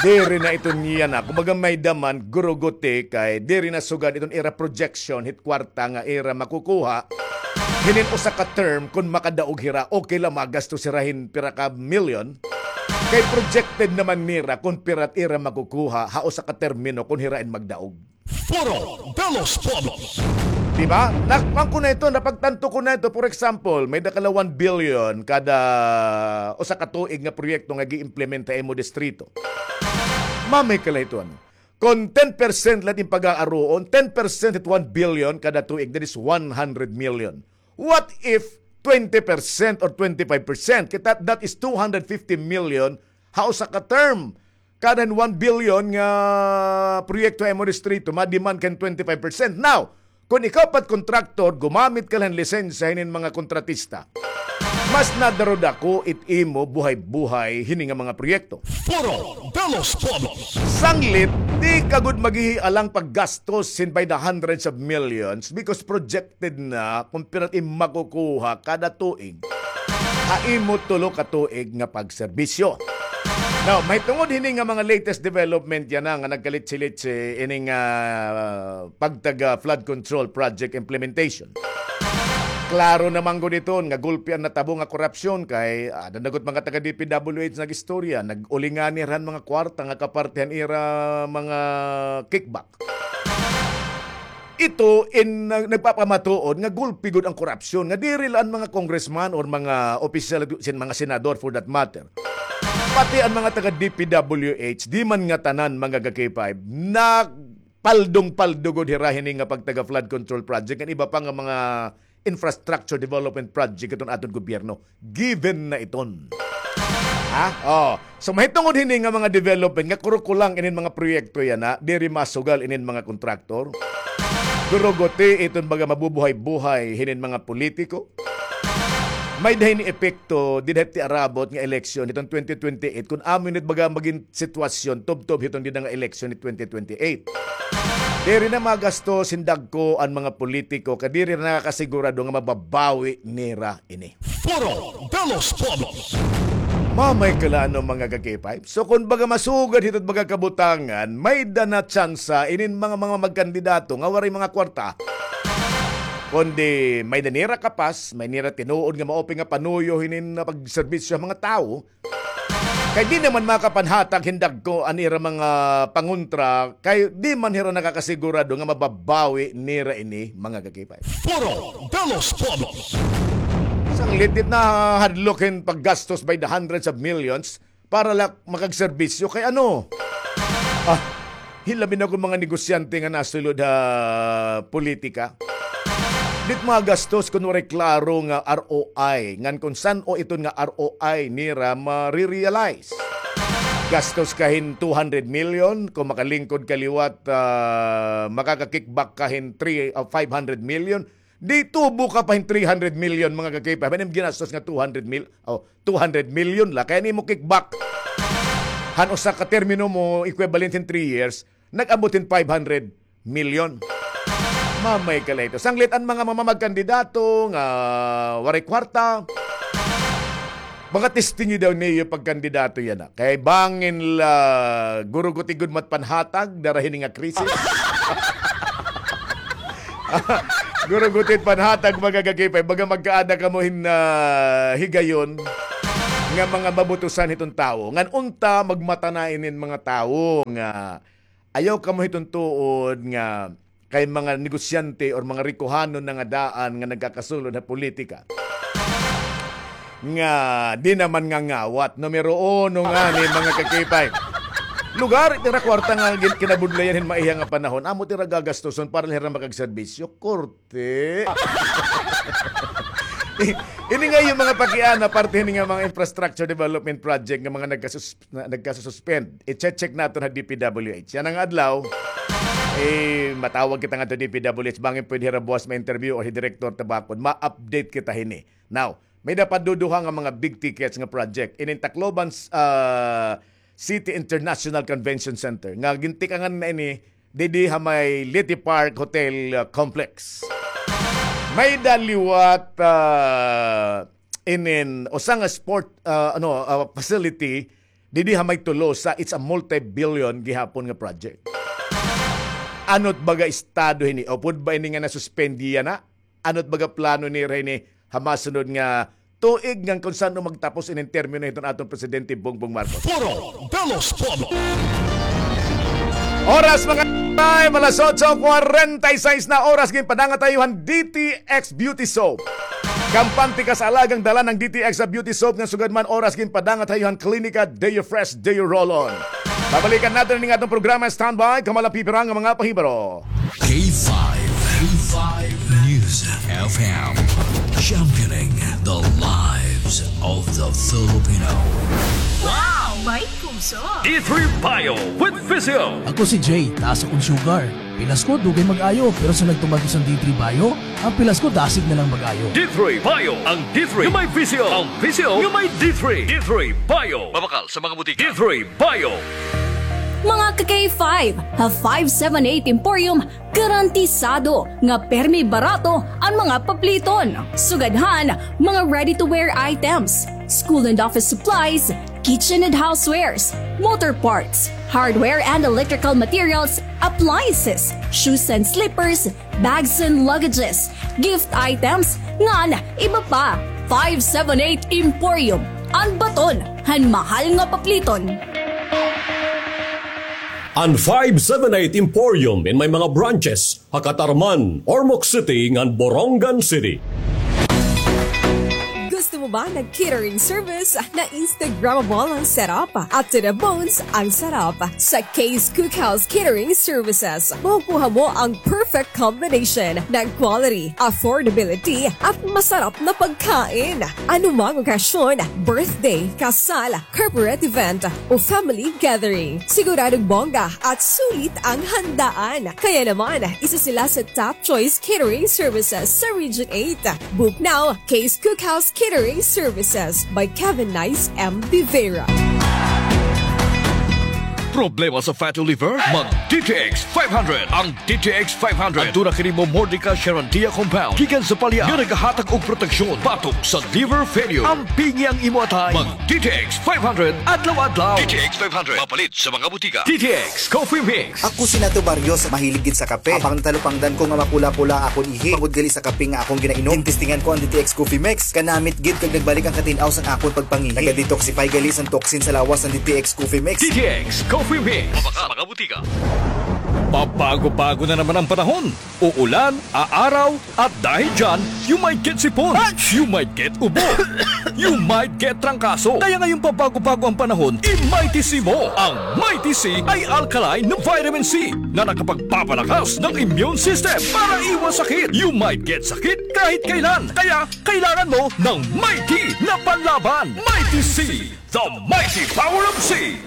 diri na iton yana. Kumbaga may-ada man, guruguti, kay diri na sugad iton ira projection hit kwarta nga ira makukuha hinin usa ka term, kon makadaog hira, okay la, magastos hira hin pira ka milyon. Kay projected naman nira kon pira it ira makukuha ha usa ka termino kon hira in magdaog. Foro de los Pueblos. Di ba? Nakpan ko na ito, napagtanto ko na ito. For example, may-ada ka la one billion kada usa ka tuig nga proyekto nga gi-implement ha imo distrito. Mamay ka la ito, ano? Kon ten percent la it im pag-aaruon, ten percent it one billion kada tuig, that is one hundred million. What if twenty percent or twenty-five percent? Kita, that is two hundred fifty million ha usa ka term. Kada hin one billion nga proyekto ha imo distrito, ma-demand ka hin twenty-five percent. Now, kon ikaw pa it kontraktor, gumamit ka la hin lisensya hinin mga kontratista, mas nadarudako it imo buhay-buhay hini nga mga proyekto. Foro de los Pueblos. Sanglit, di ka gud maghihialang paggastos hin by the hundreds of millions because projected na kon pira it im makukuha kada tuig ha imo tulo ka tuig nga pagserbisyo. Now, mahitungod hini nga mga latest development yana nga nagkalitsi-litsi ini nga, ah, pagtaga flood control project implementation. Klaro naman gud iton nga gulpi an natabo nga korupsyon kay, ah, ada na gud mga taga D P W H nag-istorya, nag-ulingani hira han mga kwarta nga kaparte han ira mga kickback. Ito in, nag-, nagpapamatuod nga gulpi gud an korupsyon, nga diri la an mga congressman or mga opisyal sin mga senador, for that matter. Pati an mga taga D P W H, di man ngatanan, mga ka-K five, nagpaldong-paldo gud hira hini nga pagtaga flood control project, an iba pa nga mga infrastructure development project iton aton gobyerno. Given na iton. Ha? Oh. So, mahitungod hini nga mga development nga kurukulang inin mga proyekto yana, diri masugal inin mga kontraktor. Guruguti iton baga mabubuhay-buhay hinin mga politiko. May-ada hini epekto dida hit tiarabot nga eleksyon hiton twenty twenty-eight, kon amo ini it baga magin sitwasyon tubtob hiton dida nga eleksyon hit twenty twenty-eight. Diri na magastos hin dagko an mga politiko, kay diri na nakakasigurado nga mababawi nira ini. Foro de los Pueblos. Mamay ka la, ano, mga ka-K five. So, kon baga masugad hito it baga kabutangan, may-ada na tsansa inin mga, mga magkandidato nga waray mga kwarta. Kundi may-ada nira kapas, may nira tinuod nga maupay nga panuyo hinin pagserbisyo ha mga tawo. Kay di naman makapanhatag hin dagko an ira mga pangontra, kay di man hira nakakasigurado nga mababawi nira ini, mga ka-K five. Foro de los Pueblos. Sanglit, di it nahadlok hin paggastos by the hundreds of millions para la makagserbisyo kay ano? Ah, hilabi na kon mga negosyante nga nasulod ha politika. Di it magastos kon waray klaro nga R O I. Ngan kon san-o iton nga R O I nira marirealize. Gastos ka hin two hundred million, kon makalingkod ka liwat, ah, makaka-kickback ka hin three, ah, five hundred million. Di tubo ka pa hin three hundred million, mga ka-K five. An im ginastos nga two hundred mil, oh, two hundred million la. Kay an imo kickback han usa ka termino mo, equivalent hin three years, nag-abot hin five hundred million. Mamay ka la hito. Sanglit an mga mamamagkandidato nga waray kwarta, Mga testingi daw niyo pagkandidato yana. Kay bangin la guruguti gud mat panhatag dara hini nga krisis. Guruguti it panhatag, mga kakipay. Baga magkaada kamo hin, ah, higayon nga mga mabutusan hiton tawo. Ngan unta magmata na inin mga tawo nga ayaw kamo hiton tuod nga kay mga negosyante or mga rikohanon na nga daan nga nagkakasulod ha politika. Nga di naman nga ngawat. Numero uno ngani, mga kakipay. Lugar it ira kwarta nga gin-, kinabudlayan hin maiha nga panahon. Amo it ira gagastuson para la hira makagserbisyo. Korte. Ini nga iyo mga pakiana, parte hini nga mga infrastructure development project nga mga nagkasus-, na, nagkasususpend. I-check-check naton ha D P W H. Yana nga adlaw, eh, matawag kita ngadto ha D P W H. Bangin pwede hira buwas ma-interview or hi Director Tabacon. Ma-update kita hini. Now, may-ada pa duduha nga mga big tickets nga project. Inin Tacloban, ah, City International Convention Center. Nga gintikangan na ini didi ha may Leyte Park Hotel, ah, Complex. May-ada liwat, ah, inin usa nga sport, ah, ano, ah, facility didi ha may Tolosa. It's a multi-billion gihapon nga project. Ano it baga estado hini? Upod ba ini nga nasuspend yana? Ano it baga plano nira hini ha masunod nga tuig ngan kon san-o magtapos inin termino hiton aton Presidente Bongbong Marcos? Foro de los Pueblos. Oras, mga time, alas otso kwarenta y seis na oras, ginpadangat ha iyo han D T X Beauty Soap. Kampante ka sa alagang dala ng D T X sa Beauty Soap nga sugad man oras ginpadangat ha iyo han Klinika Deo Fresh Deo Roll-On. Babalikan naton ini nga aton programa. Standby, kamo la pipira nga mga pahibaro. K five, K five News F M, championing the lives of the Filipino. Wow! May puso! D three Bio with Physio. Ako si Jay, taas akon sugar. Pilas ko, dugay mag-ayo, pero sa nagtumatos an D three Bio, an pilas ko dasig na lang mag-ayo. D three Bio, ang D three nga may Physio, ang Physio nga may D three. D three Bio. Mabakal sa mga butika. D three Bio. Mga ka-K five, ha five seven eight Emporium, garantisado nga permi barato an mga papliton. Sugad han mga ready-to-wear items, school and office supplies, kitchen and housewares, motor parts, hardware and electrical materials, appliances, shoes and slippers, bags and luggages, gift items, ngan iba pa. Five seven eight Emporium, an baton han mahal nga papliton. An five seven eight Emporium in may mga branches ha Catarman, Ormoc City, ngan Borongan City. Gusto mo ba ng catering service na Instagrammable ang setup at to the bones ang sarap? Sa Kay's Cookhouse Catering Services, makukuha mo ang perfect combination ng quality, affordability, at masarap na pagkain. Anumang okasyon, birthday, kasal, corporate event, o family gathering, siguradong bongga at sulit ang handaan. Kaya naman, isa sila sa top choice catering services sa Region eight. Book now, Kay's Cookhouse Catering Services by Kevin Nice M. Vivera. Problema sa fatty liver? Mag D T X five hundred. Ang D T X five hundred. Aduna kini momordica charantia compound gikan sa palya nga nagahatag og proteksyon batok sa liver failure. Ampingi ang imo atay. Mag D T X five hundred adlaw-adlaw. D T X five hundred. Mapalit sa mga butika. D T X Coffee Mix. Ako si Nato Barrios, mahilig gid sa kape. Apang natalupangdan ko nga mapula-pula akon ihi tungod gali sa kape nga akon ginainom. Tinestingan ko an D T X Coffee Mix. Kanamit gid kag nagbalik an katin-aw san akon pagpangihi. Naga-detoxify gali san toxin sa lawas an D T X Coffee Mix. D T X Coffee Mix. Mabakal sa mga butika. Pabago-bago na naman ang panahon. Uulan, aaraw, at dahil dyan, you might get sipon. You might get ubo. You might get trangkaso. Kaya ngayong pabago-bago ang panahon, i-Mighty C mo. Ang Mighty C ay alkaline na vitamin C na nakapagpapalakas ng immune system para iwas sakit. You might get sakit kahit kailan. Kaya kailangan mo ng Mighty na panlaban. Mighty C, the mighty power of C.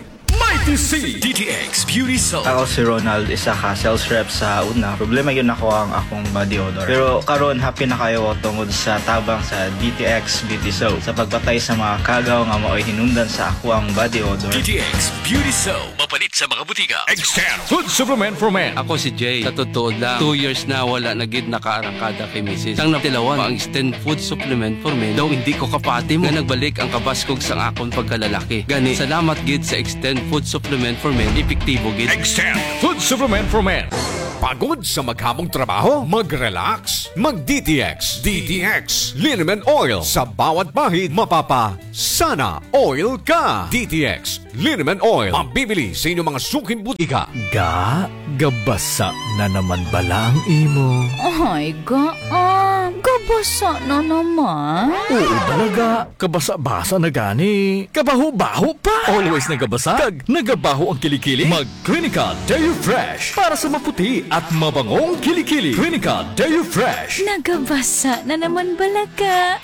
I T C, D T X Beauty Soap. Ako si Ronald, isa ka sales rep sa una. Problema gyud nako ang akong body odor. Pero karon, happy na kaayo ako tungod sa tabang sa D T X Beauty Soap sa pagpatay sa mga kagaw nga maoy hinungdan sa akoang body odor. D T X Beauty Soap. Mapalit sa mga butika. Extend Food Supplement for Men. Ako si Jay. Sa totoo lang, two years na wala na gid nakaarangkada kay misis. Sang natilawan pa ang Extend Food Supplement for Men, daw hindi ko kapati mo nga nagbalik ang kabaskog sang akon pagkalalaki. Gani, salamat gid sa Extend Food Supplement for Men, epektibo gid. Extend Food Supplement for Men. Pagod sa maghamong trabaho? Mag-relax. Mag-D T X. D T X Liniment Oil. Sa bawat bahid, mapapa-sana oil ka. D T X Liniment Oil. Mabibili sa inyong mga suking butika. Ga, gabasa na naman bala ang imo? Ay, ga, ah, gabasa na naman. Oo bala, ga. Kabasa-basa na gani. Kabaho-baho pa. Always nagabasa? Kag nagabaho ang kilikili? Mag Clinica Deo Fresh para sa maputi at mabangong kilikili. Clinica Deo Fresh. Nagabasa na naman bala, ga.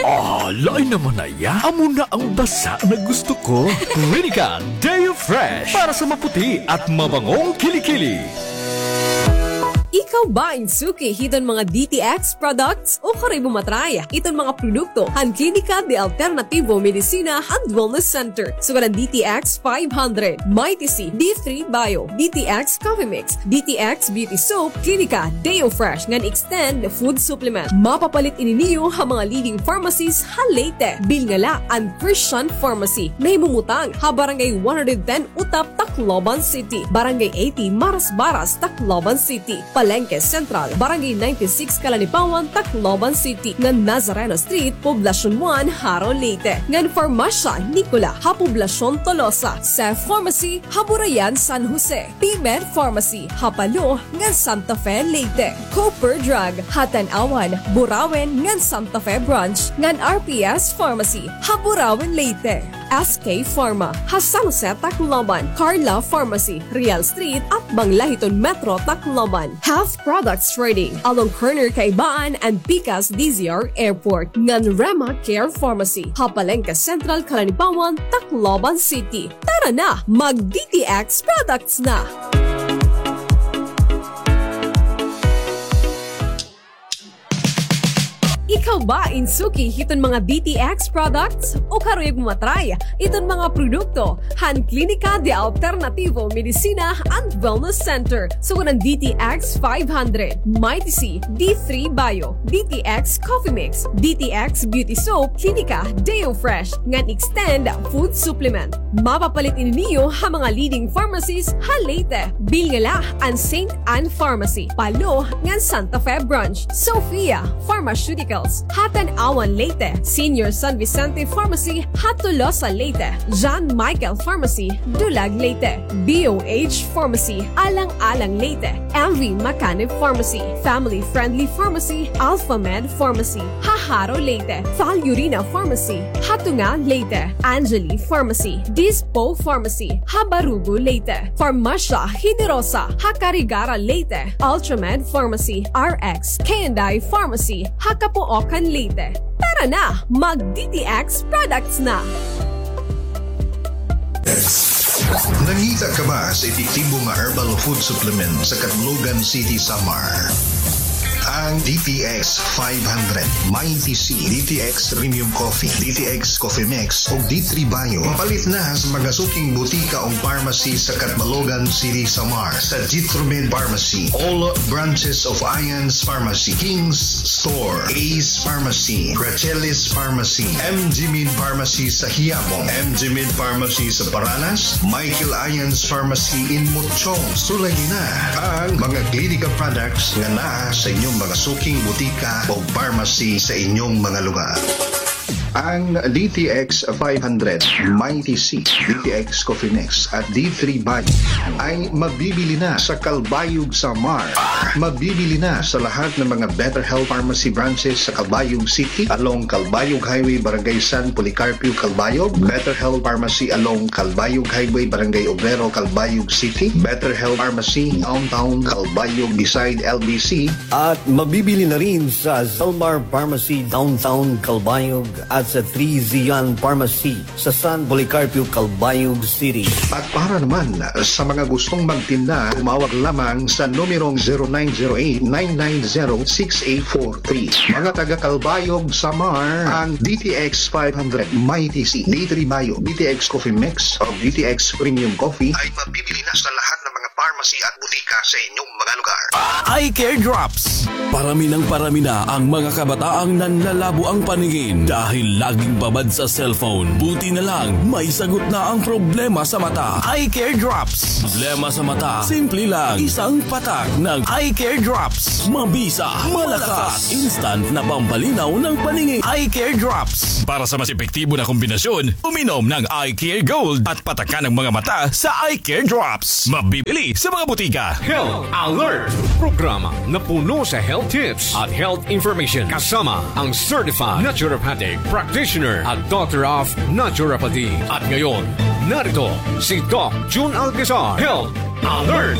Ah, lain naman na iya. Amo na ang basa na gusto ko. Clinica Deo Fresh para sa maputi at mabangong kilikili. Ikaw ba in suki hiton mga D T X products? Ukari mo matry iton mga produkto han Klinika de Alternativo Medicina and Wellness Center. Sugad an D T X five hundred, Mighty C, D three Bio, D T X Coffee Mix, D T X Beauty Soap, Klinika Deo Fresh ngan Extend Food Supplement. Mapapalit ini niyo ha mga leading pharmacies ha Leyte. Bilnga la an Christian Pharmacy, nahimumutang ha Barangay one hundred ten Utap, Tacloban City, Barangay eighty Marasbaras, Tacloban City, Palengke Central, Barangay ninety-six Calanipawan, Tacloban City, ngan Nazareno Street, Poblacion one, Jaro, Leyte, ngan Farmasya Nicola ha Poblacion Tolosa, Seth Pharmacy ha Burayan, San Jose, P-Med Pharmacy ha Palo ngan Santa Fe, Leyte, Cooper Drug ha Tanauan, Burauen ngan Santa Fe Branch, ngan R P S Pharmacy ha Burauen, Leyte. S K Pharma ha San Jose, Tacloban, Carla Pharmacy, Real Street, atbang la hiton Metro Tacloban. Health Products Trading along corner Kaibaan and Pikas D Z R Airport, ngan Rema Care Pharmacy ha Palengke Central, Calanipawan, Tacloban City. Tara na, mag D T X products na! Ikaw ba in suki hiton mga D T X products? O karuyag mo matry iton mga produkto han Klinika de Alternativo Medicina and Wellness Center? Sugad an D T X five hundred, Mighty C, D three Bio, D T X Coffee Mix, D T X Beauty Soap, Klinika Deo Fresh, ngan Extend Food Supplement. Mapapalit ini niyo ha mga leading pharmacies ha Leyte. Bilnga la an Saint Ann Pharmacy, Palo, ngan Santa Fe Branch, Sophia Pharmaceuticals ha Tanauan, Leyte, Senior San Vicente Pharmacy ha Tolosa, Leyte, John Michael Pharmacy, Dulag, Leyte, B O H Pharmacy, Alang-alang, Leyte, M V Macanib Pharmacy, Family Friendly Pharmacy, Alpha Med Pharmacy ha Jaro, Leyte, Val Urina Pharmacy ha Tunga, Leyte, Angeli Pharmacy, Dispo Pharmacy ha Barugo, Leyte, Farmasya Generosa ha Carigara, Leyte, Ultramed Pharmacy, R X K and I Pharmacy ha Capoocan, Leyte. Tara na, mag D T X products na! Nangita ka ba sa epektibo nga herbal food supplement sa Catbalogan City, Samar? Ang D T X five hundred, Mighty C, D T X Premium Coffee, D T X Coffee Mix, ug D three Bio. Mapalit na sa mga suking butika ug pharmacy sa Catbalogan City, Samar, sa Jitromed Pharmacy, all branches of Ian's Pharmacy, King's Store, Ace Pharmacy, Gracelis Pharmacy, M G Min Pharmacy sa Quiapo, M G Min Pharmacy sa Paranas, Michael Ian's Pharmacy in Mochong. Sulayi na ang mga Klinika products nga naa sa inyong mga suking butika o pharmacy sa inyong mga lugar. Ang D T X five hundred, Mighty C, D T X Coffee Mix, at D three Bio ay mabibili na sa Calbayog, Samar. Mabibili na sa lahat ng mga Better Health Pharmacy branches sa Calbayog City, along Calbayog Highway, Barangay San Policarpio, Calbayog. Better Health Pharmacy along Calbayog Highway, Barangay Obrero, Calbayog City. Better Health Pharmacy, Downtown Calbayog, beside L B C. At mabibili na rin sa Zalmar Pharmacy, Downtown Calbayog, at sa Three Zion Pharmacy sa San Policarpio, Calbayog City. At para naman sa mga gustong magtinda, tumawag lamang sa numerong zero nine zero eight nine nine zero six eight four three. Mga taga Calbayog, Samar, ang D T X five hundred, Mighty C, D three Bio, D T X Coffee Mix, o D T X Premium Coffee ay mabibili na sa lahat ng mga pharmacy at butika sa inyong mga lugar. Eye Care Drops. Parami ng parami na ang mga kabataang nanlalabo ang paningin dahil laging babad sa cellphone. Buti na lang, may sagot na ang problema sa mata. Eye Care Drops. Problema sa mata, simple lang. Isang patak ng Eye Care Drops. Mabisa, malakas, instant na pampalinaw ng paningin. Eye Care Drops. Para sa mas epektibo na kombinasyon, uminom ng Eye Care Gold at patakan ang mga mata sa Eye Care Drops. Mabibili sa mga butika. Health Alert! Programa na puno sa health tips at health information kasama ang certified naturopathic practitioner at doctor of naturopathy. At ngayon, narito si Doc Jun Alcazar. Health Alert!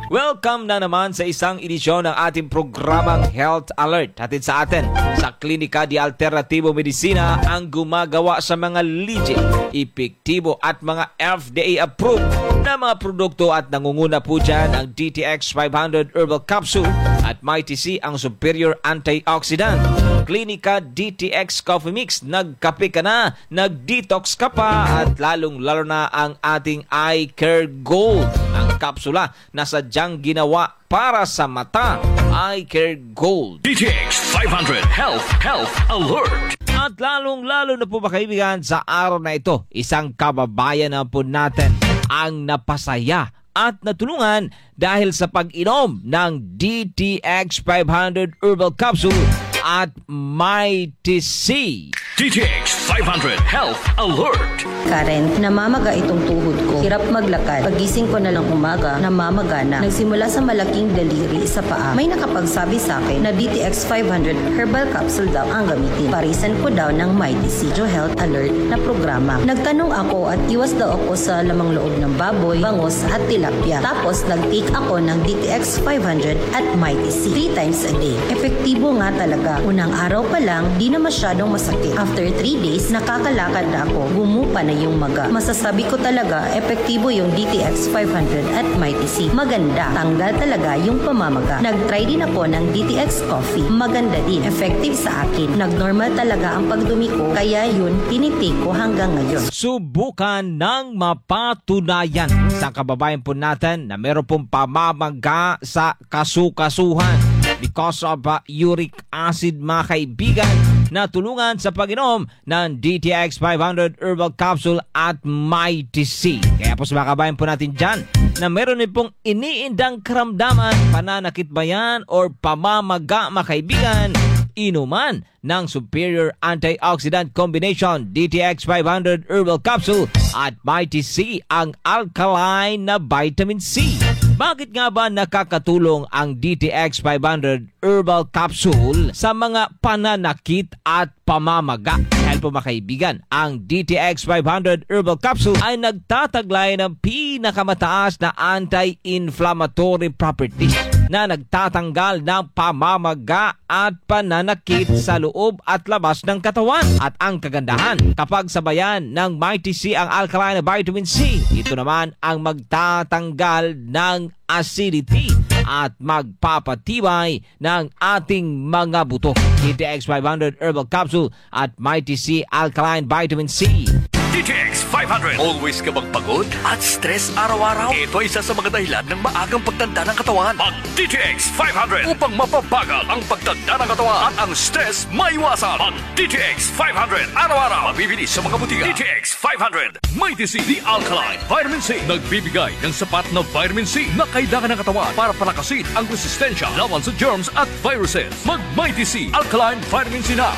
Welcome na naman sa isang edisyon ng ating programang Health Alert. Hatid sa atin sa Klinika de Alternativo Medicina, ang gumagawa sa mga legit, epektibo at mga F D A approved na mga produkto, at nangunguna po dyan ang D T X five hundred Herbal Capsule at Mighty C, ang superior antioxidant. Klinika D T X Coffee Mix, nagkape ka na, nag-detox ka pa, at lalong-lalo na ang ating Eye Care Gold, ang kapsula na sadyang ginawa para sa mata, Eye Care Gold. D T X five hundred Health, Health Alert. At lalong-lalo na po, mga kaibigan, sa araw na ito, isang kababayan na po natin ang napasaya at natulungan dahil sa pag-inom ng D T X five hundred Herbal Capsule at Mighty C. D T X five hundred Health Alert. Karen, namamaga itong tuhod ko. Hirap maglakad. Pagising ko na lang umaga, namamaga na. Nagsimula sa malaking daliri sa paa. May nakapagsabi sa akin na D T X five hundred Herbal Capsule daw ang gamitin. Parisan ko daw ng Mighty C, Health Alert na programa. Nagtanong ako at iwas daw ako sa lamang loob ng baboy, bangus at tilapia. Tapos nag-take ako ng D T X five hundred at Mighty C three times a day. Epektibo nga talaga. Unang araw pa lang, di na masyadong masakit. After three days, nakakalakad na ako. Gumupa na yung maga. Masasabi ko talaga, epektibo yung D T X five hundred at Mighty C. Maganda. Tanggal talaga yung pamamaga. Nag-try din ako ng D T X Coffee. Maganda din. Effective sa akin. Nag-normal talaga ang pagdumi ko. Kaya yun, tinitake ko hanggang ngayon. Subukan ng mapatunayan sa kababayan po natin na meron pong pamamaga sa kasukasuhan because of, uh, uric acid, mga kaibigan, na tulungan sa pag-inom ng D T X five hundred Herbal Capsule at Mighty C. Kaya po sa mga kababayan po natin dyan na meron din pong iniindang karamdaman, pananakit ba yan or pamamaga, mga kaibigan, inuman ng Superior Antioxidant Combination, D T X five hundred Herbal Capsule at Mighty C, ang alkaline na vitamin C. Bakit nga ba nakakatulong ang D T X five hundred Herbal Capsule sa mga pananakit at pamamaga? Dahil po, mga kaibigan, ang D T X five hundred Herbal Capsule ay nagtataglay ng pinakamataas na anti-inflammatory properties na nagtatanggal ng pamamaga at pananakit sa loob at labas ng katawan. At ang kagandahan, kapag sabayan ng Mighty C ang alkaline na vitamin C, ito naman ang magtatanggal ng acidity at magpapatibay ng ating mga buto. D T X five hundred Herbal Capsule at Mighty C Alkaline Vitamin C. D T X five hundred. Always ka bang pagod at stress araw-araw? Ito ay isa sa mga dahilan ng maagang pagtanda ng katawan. Mag D T X five hundred upang mapabagal ang pagtanda ng katawan at ang stress maiwasan. Mag D T X five hundred araw-araw. Mabibili sa mga butika. D T X five hundred. Mighty C, the alkaline vitamin C. Nagbibigay ng sapat na vitamin C na kailangan ng katawan para palakasin ang resistensya laban sa germs at viruses. Mag Mighty C Alkaline Vitamin C na.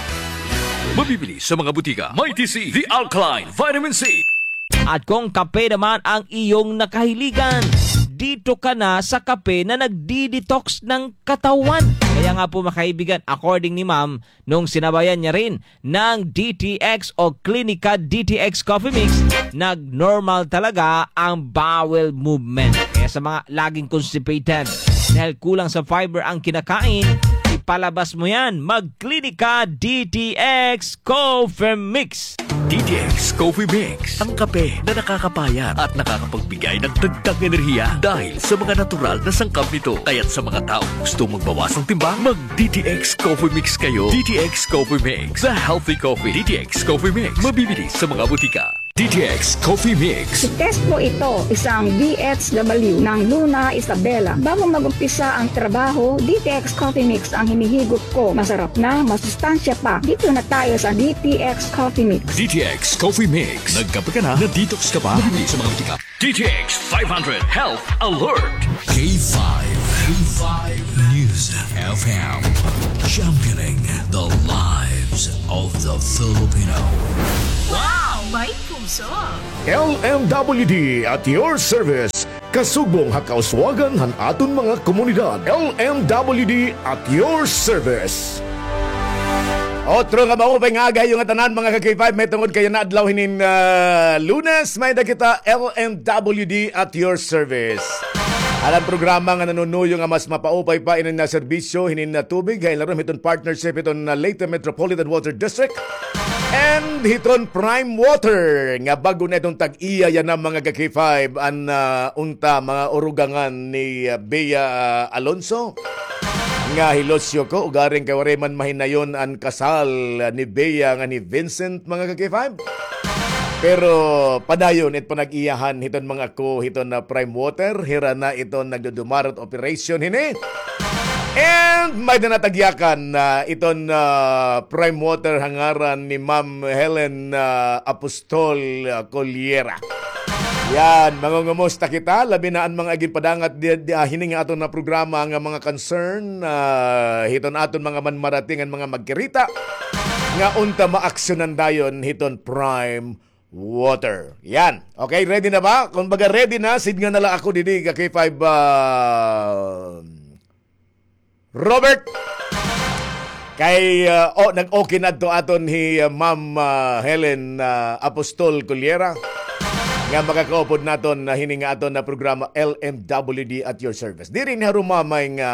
Mabibili sa mga butika. Mighty C, the alkaline vitamin C. At kung kape naman ang iyong nakahiligan, dito ka na sa kape na nagdi-detox ng katawan. Kaya nga po, mga kaibigan, according ni Ma'am, nung sinabayan niya rin ng D T X o Klinika D T X Coffee Mix, nag-normal talaga ang bowel movement. Kaya sa mga laging constipated, dahil kulang sa fiber ang kinakain, palabas mo yan. Mag-Klinika D T X Coffee Mix. D T X Coffee Mix, ang kape na nakakapayat at nakakapagbigay ng dagdag enerhiya dahil sa mga natural na sangkap nito. Kaya't sa mga taong gusto magbawas ng timbang, mag-D T X Coffee Mix kayo. D T X Coffee Mix, the healthy coffee. D T X Coffee Mix, mabibili sa mga butika. D T X Coffee Mix. I-test mo ito, isang D H W ng Luna Isabela. Bago mag-umpisa ang trabaho, D T X Coffee Mix ang hinihigop ko. Masarap na, masustansya pa. Dito na tayo sa D T X Coffee Mix. D T X Coffee Mix. Nagkape ka na, na-detox ka pa. Bumili sa mga butika. D T X five hundred Health Alert. K five, K five News F M. Championing the lives of the Filipino. Wow! May puso! L M W D at your service. Kasugbong ha kauswagan han aton mga komunidad. L M W D at your service. Otro nga maupay nga aga ha iyo ngatanan, mga ka-K five, mahitungod kay yana adlaw hinin, ah, Lunes, may-ada kita L M W D at your service. An programa nga nanunuyo nga mas mapaupay pa ini nga serbisyo hinin nga tubig, ha ilarom hiton partnership hiton, ah, Leyte Metropolitan Water District and hiton Prime Water nga bag-o na iton tag-iya yana, mga ka-K five, an, ah, unta mga urugangan ni, ah, Bea, ah, Alonso. Nga hilosyo ko, ugaring kay waray man mahinayon an kasal ni Bea ngan ni Vincent, mga ka-K five. Pero padayon it panag-iyahan hiton mga ko hiton na Prime Water, hira na iton nagdudumarat operation hini. And may-ada na tagyakan na iton, ah, Prime Water ha ngaran ni Ma'am Helen, ah, Apostol, ah, Coliera. Yan, mangungumusta kita, labi na an mga ginpadangat di, di, ah, hini nga aton na programa nga mga concern, ah, hiton aton mga manmarating ngan mga magkirita, nga unta maaksyonan dayon hiton Prime Water. Yan. Okay, ready na ba? Kon baga ready na, sidngan na la ako didi, ka-K five, ah, Robert. Kay, ah, oh, nag-okay na adto aton hi, ah, Ma'am, ah, Helen, ah, Apostol Coliera nga makakaupod naton na hini nga aton na programa, L M W D at your service. Diri ni harumamay nga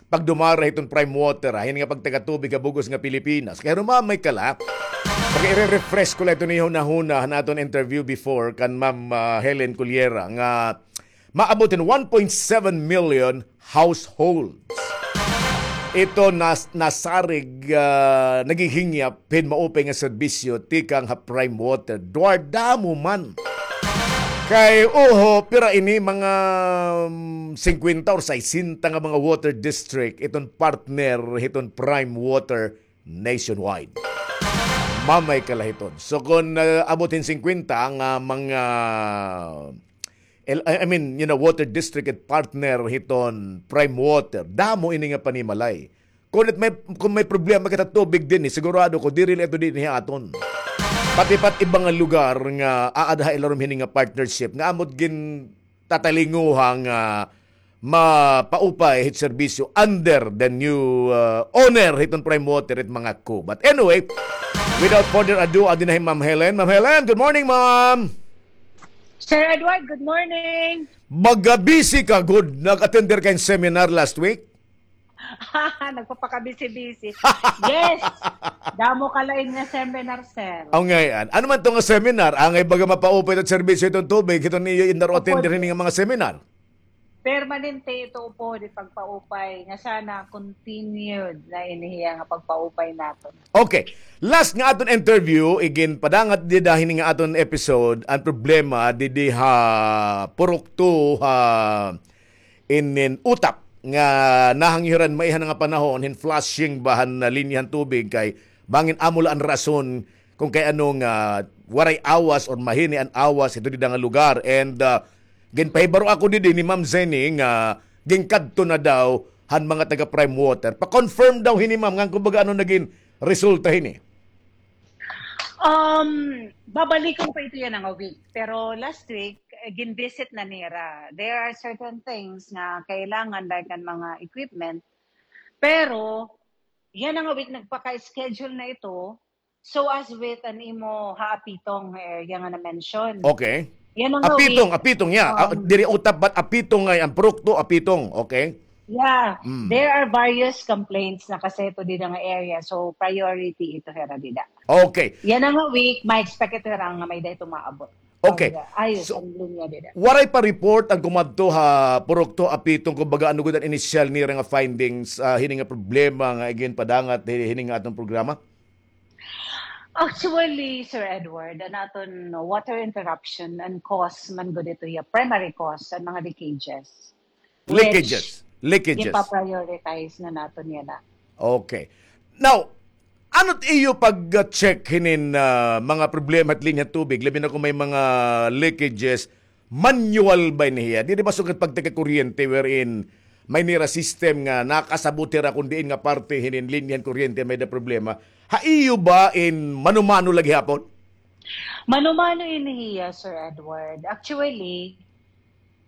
pagdumara hiton Prime Water, ha, hini nga pagtagatubig ha bug-os nga Pilipinas. Kay harumamay ka la, pag-ire-refresh ko la ito niyo hunahuna han aton interview before kan Ma'am, ah, Helen Coliera nga maabot hin one point seven million households. Ito nas-, nasarig, ah, naghihingyap hin maupay nga serbisyo tikang ha Prime Water. Dwar damo man. Kay, oho, pira ini, mga, mm, singkwenta or saysenta nga mga water district, iton partner hiton Prime Water nationwide. Mamay kalahiton. So, kon, ah, abot hin singkwenta nga mga el-, I I mean, you know, water district it partner hiton Prime Water, damo ini nga panimalay. Kon it may, kon may problema kita tubig dinhi, sigurado ko, diri la ito dinhi aton. Pati pa it iba nga lugar nga aada ha ilarom hini nga partnership, nga amot gin tatalinguha nga mapaupay hit serbisyo under the new, uh, owner hiton Prime Water it mga ko. But anyway, without further ado, adi na hi Ma'am Helen. Ma'am Helen, good morning, ma'am. Sir Edward, good morning. Maga-busy ka gud. Nag-attender ka hin seminar last week? Nagpapakabisi-bisi. Yes. Damo ka lain nga seminar, sir. Aw, ngay-an. Ano man to nga seminar? Angay baga mapaupay it serbisyo hiton tubig, hiton iyo indaro attender hini nga mga seminar? Permanente ito upod it pagpaupay nga sana continued na ini hiya nga pagpaupay naton. Okay. Last nga aton interview, iginpadangat dida hini nga aton episode, an problema didi ha Purok two ha inin Utap nga nahangyoran maiha na nga panahon hin flushing ba han linya han tubig kay bangin amo la an rason kon kay ano nga waray awas or mahini an awas hito dida nga lugar. And, ah, ginpahibaro ako didi ni Ma'am Zenny nga ginkadto na daw han mga taga Prime Water. Pa-confirm daw hini, ma'am, ngan kumbaga ano nagin resulta hini? Um, babalikon pa ito yana nga week. Pero last week, eh, gin-visit na nira. There are certain things nga kailangan, like an mga equipment. Pero yana nga week, nagpaka-schedule na ito. So as with an imo ha Apitong area nga na-mention. Okay. Yana nga Apitong, week, Apitong, yeah. Ah, um, diri Utap, but Apitong ngay-an, Purok two, Apitong. Okay. Yeah, there are various complaints na kaseto dida nga area. So, priority ito hira dida. Okay. Yana nga week, ma-expect ito hira nga may-ada ito maabot. Okay. Ayos an linya dida. Waray pa report an kumadto ha Purok Two, Apitong, kumbaga, ano gud an inisyal nira nga findings, ah, hini nga problema nga iginpadangat hi-, hini nga aton programa? Actually, Sir Edward, an aton water interruption, an cause man gud ito hiya, primary cause, an mga leakages. Leakages. Leakages. Ipa-prioritize na naton yana. Okay. Now, ano it iyo pag-check hinin, ah, mga problema hit linya han tubig, labi na kon may mga leakages, manual ba ini hiya? Diri ba sugad pagtagkuryente wherein may nira system nga nakasabot hira kon diin nga parte hinin linya han kuryente may-ada problema? Ha iyo ba in mano-mano la gihapon? Mano-mano ini hiya, Sir Edward. Actually,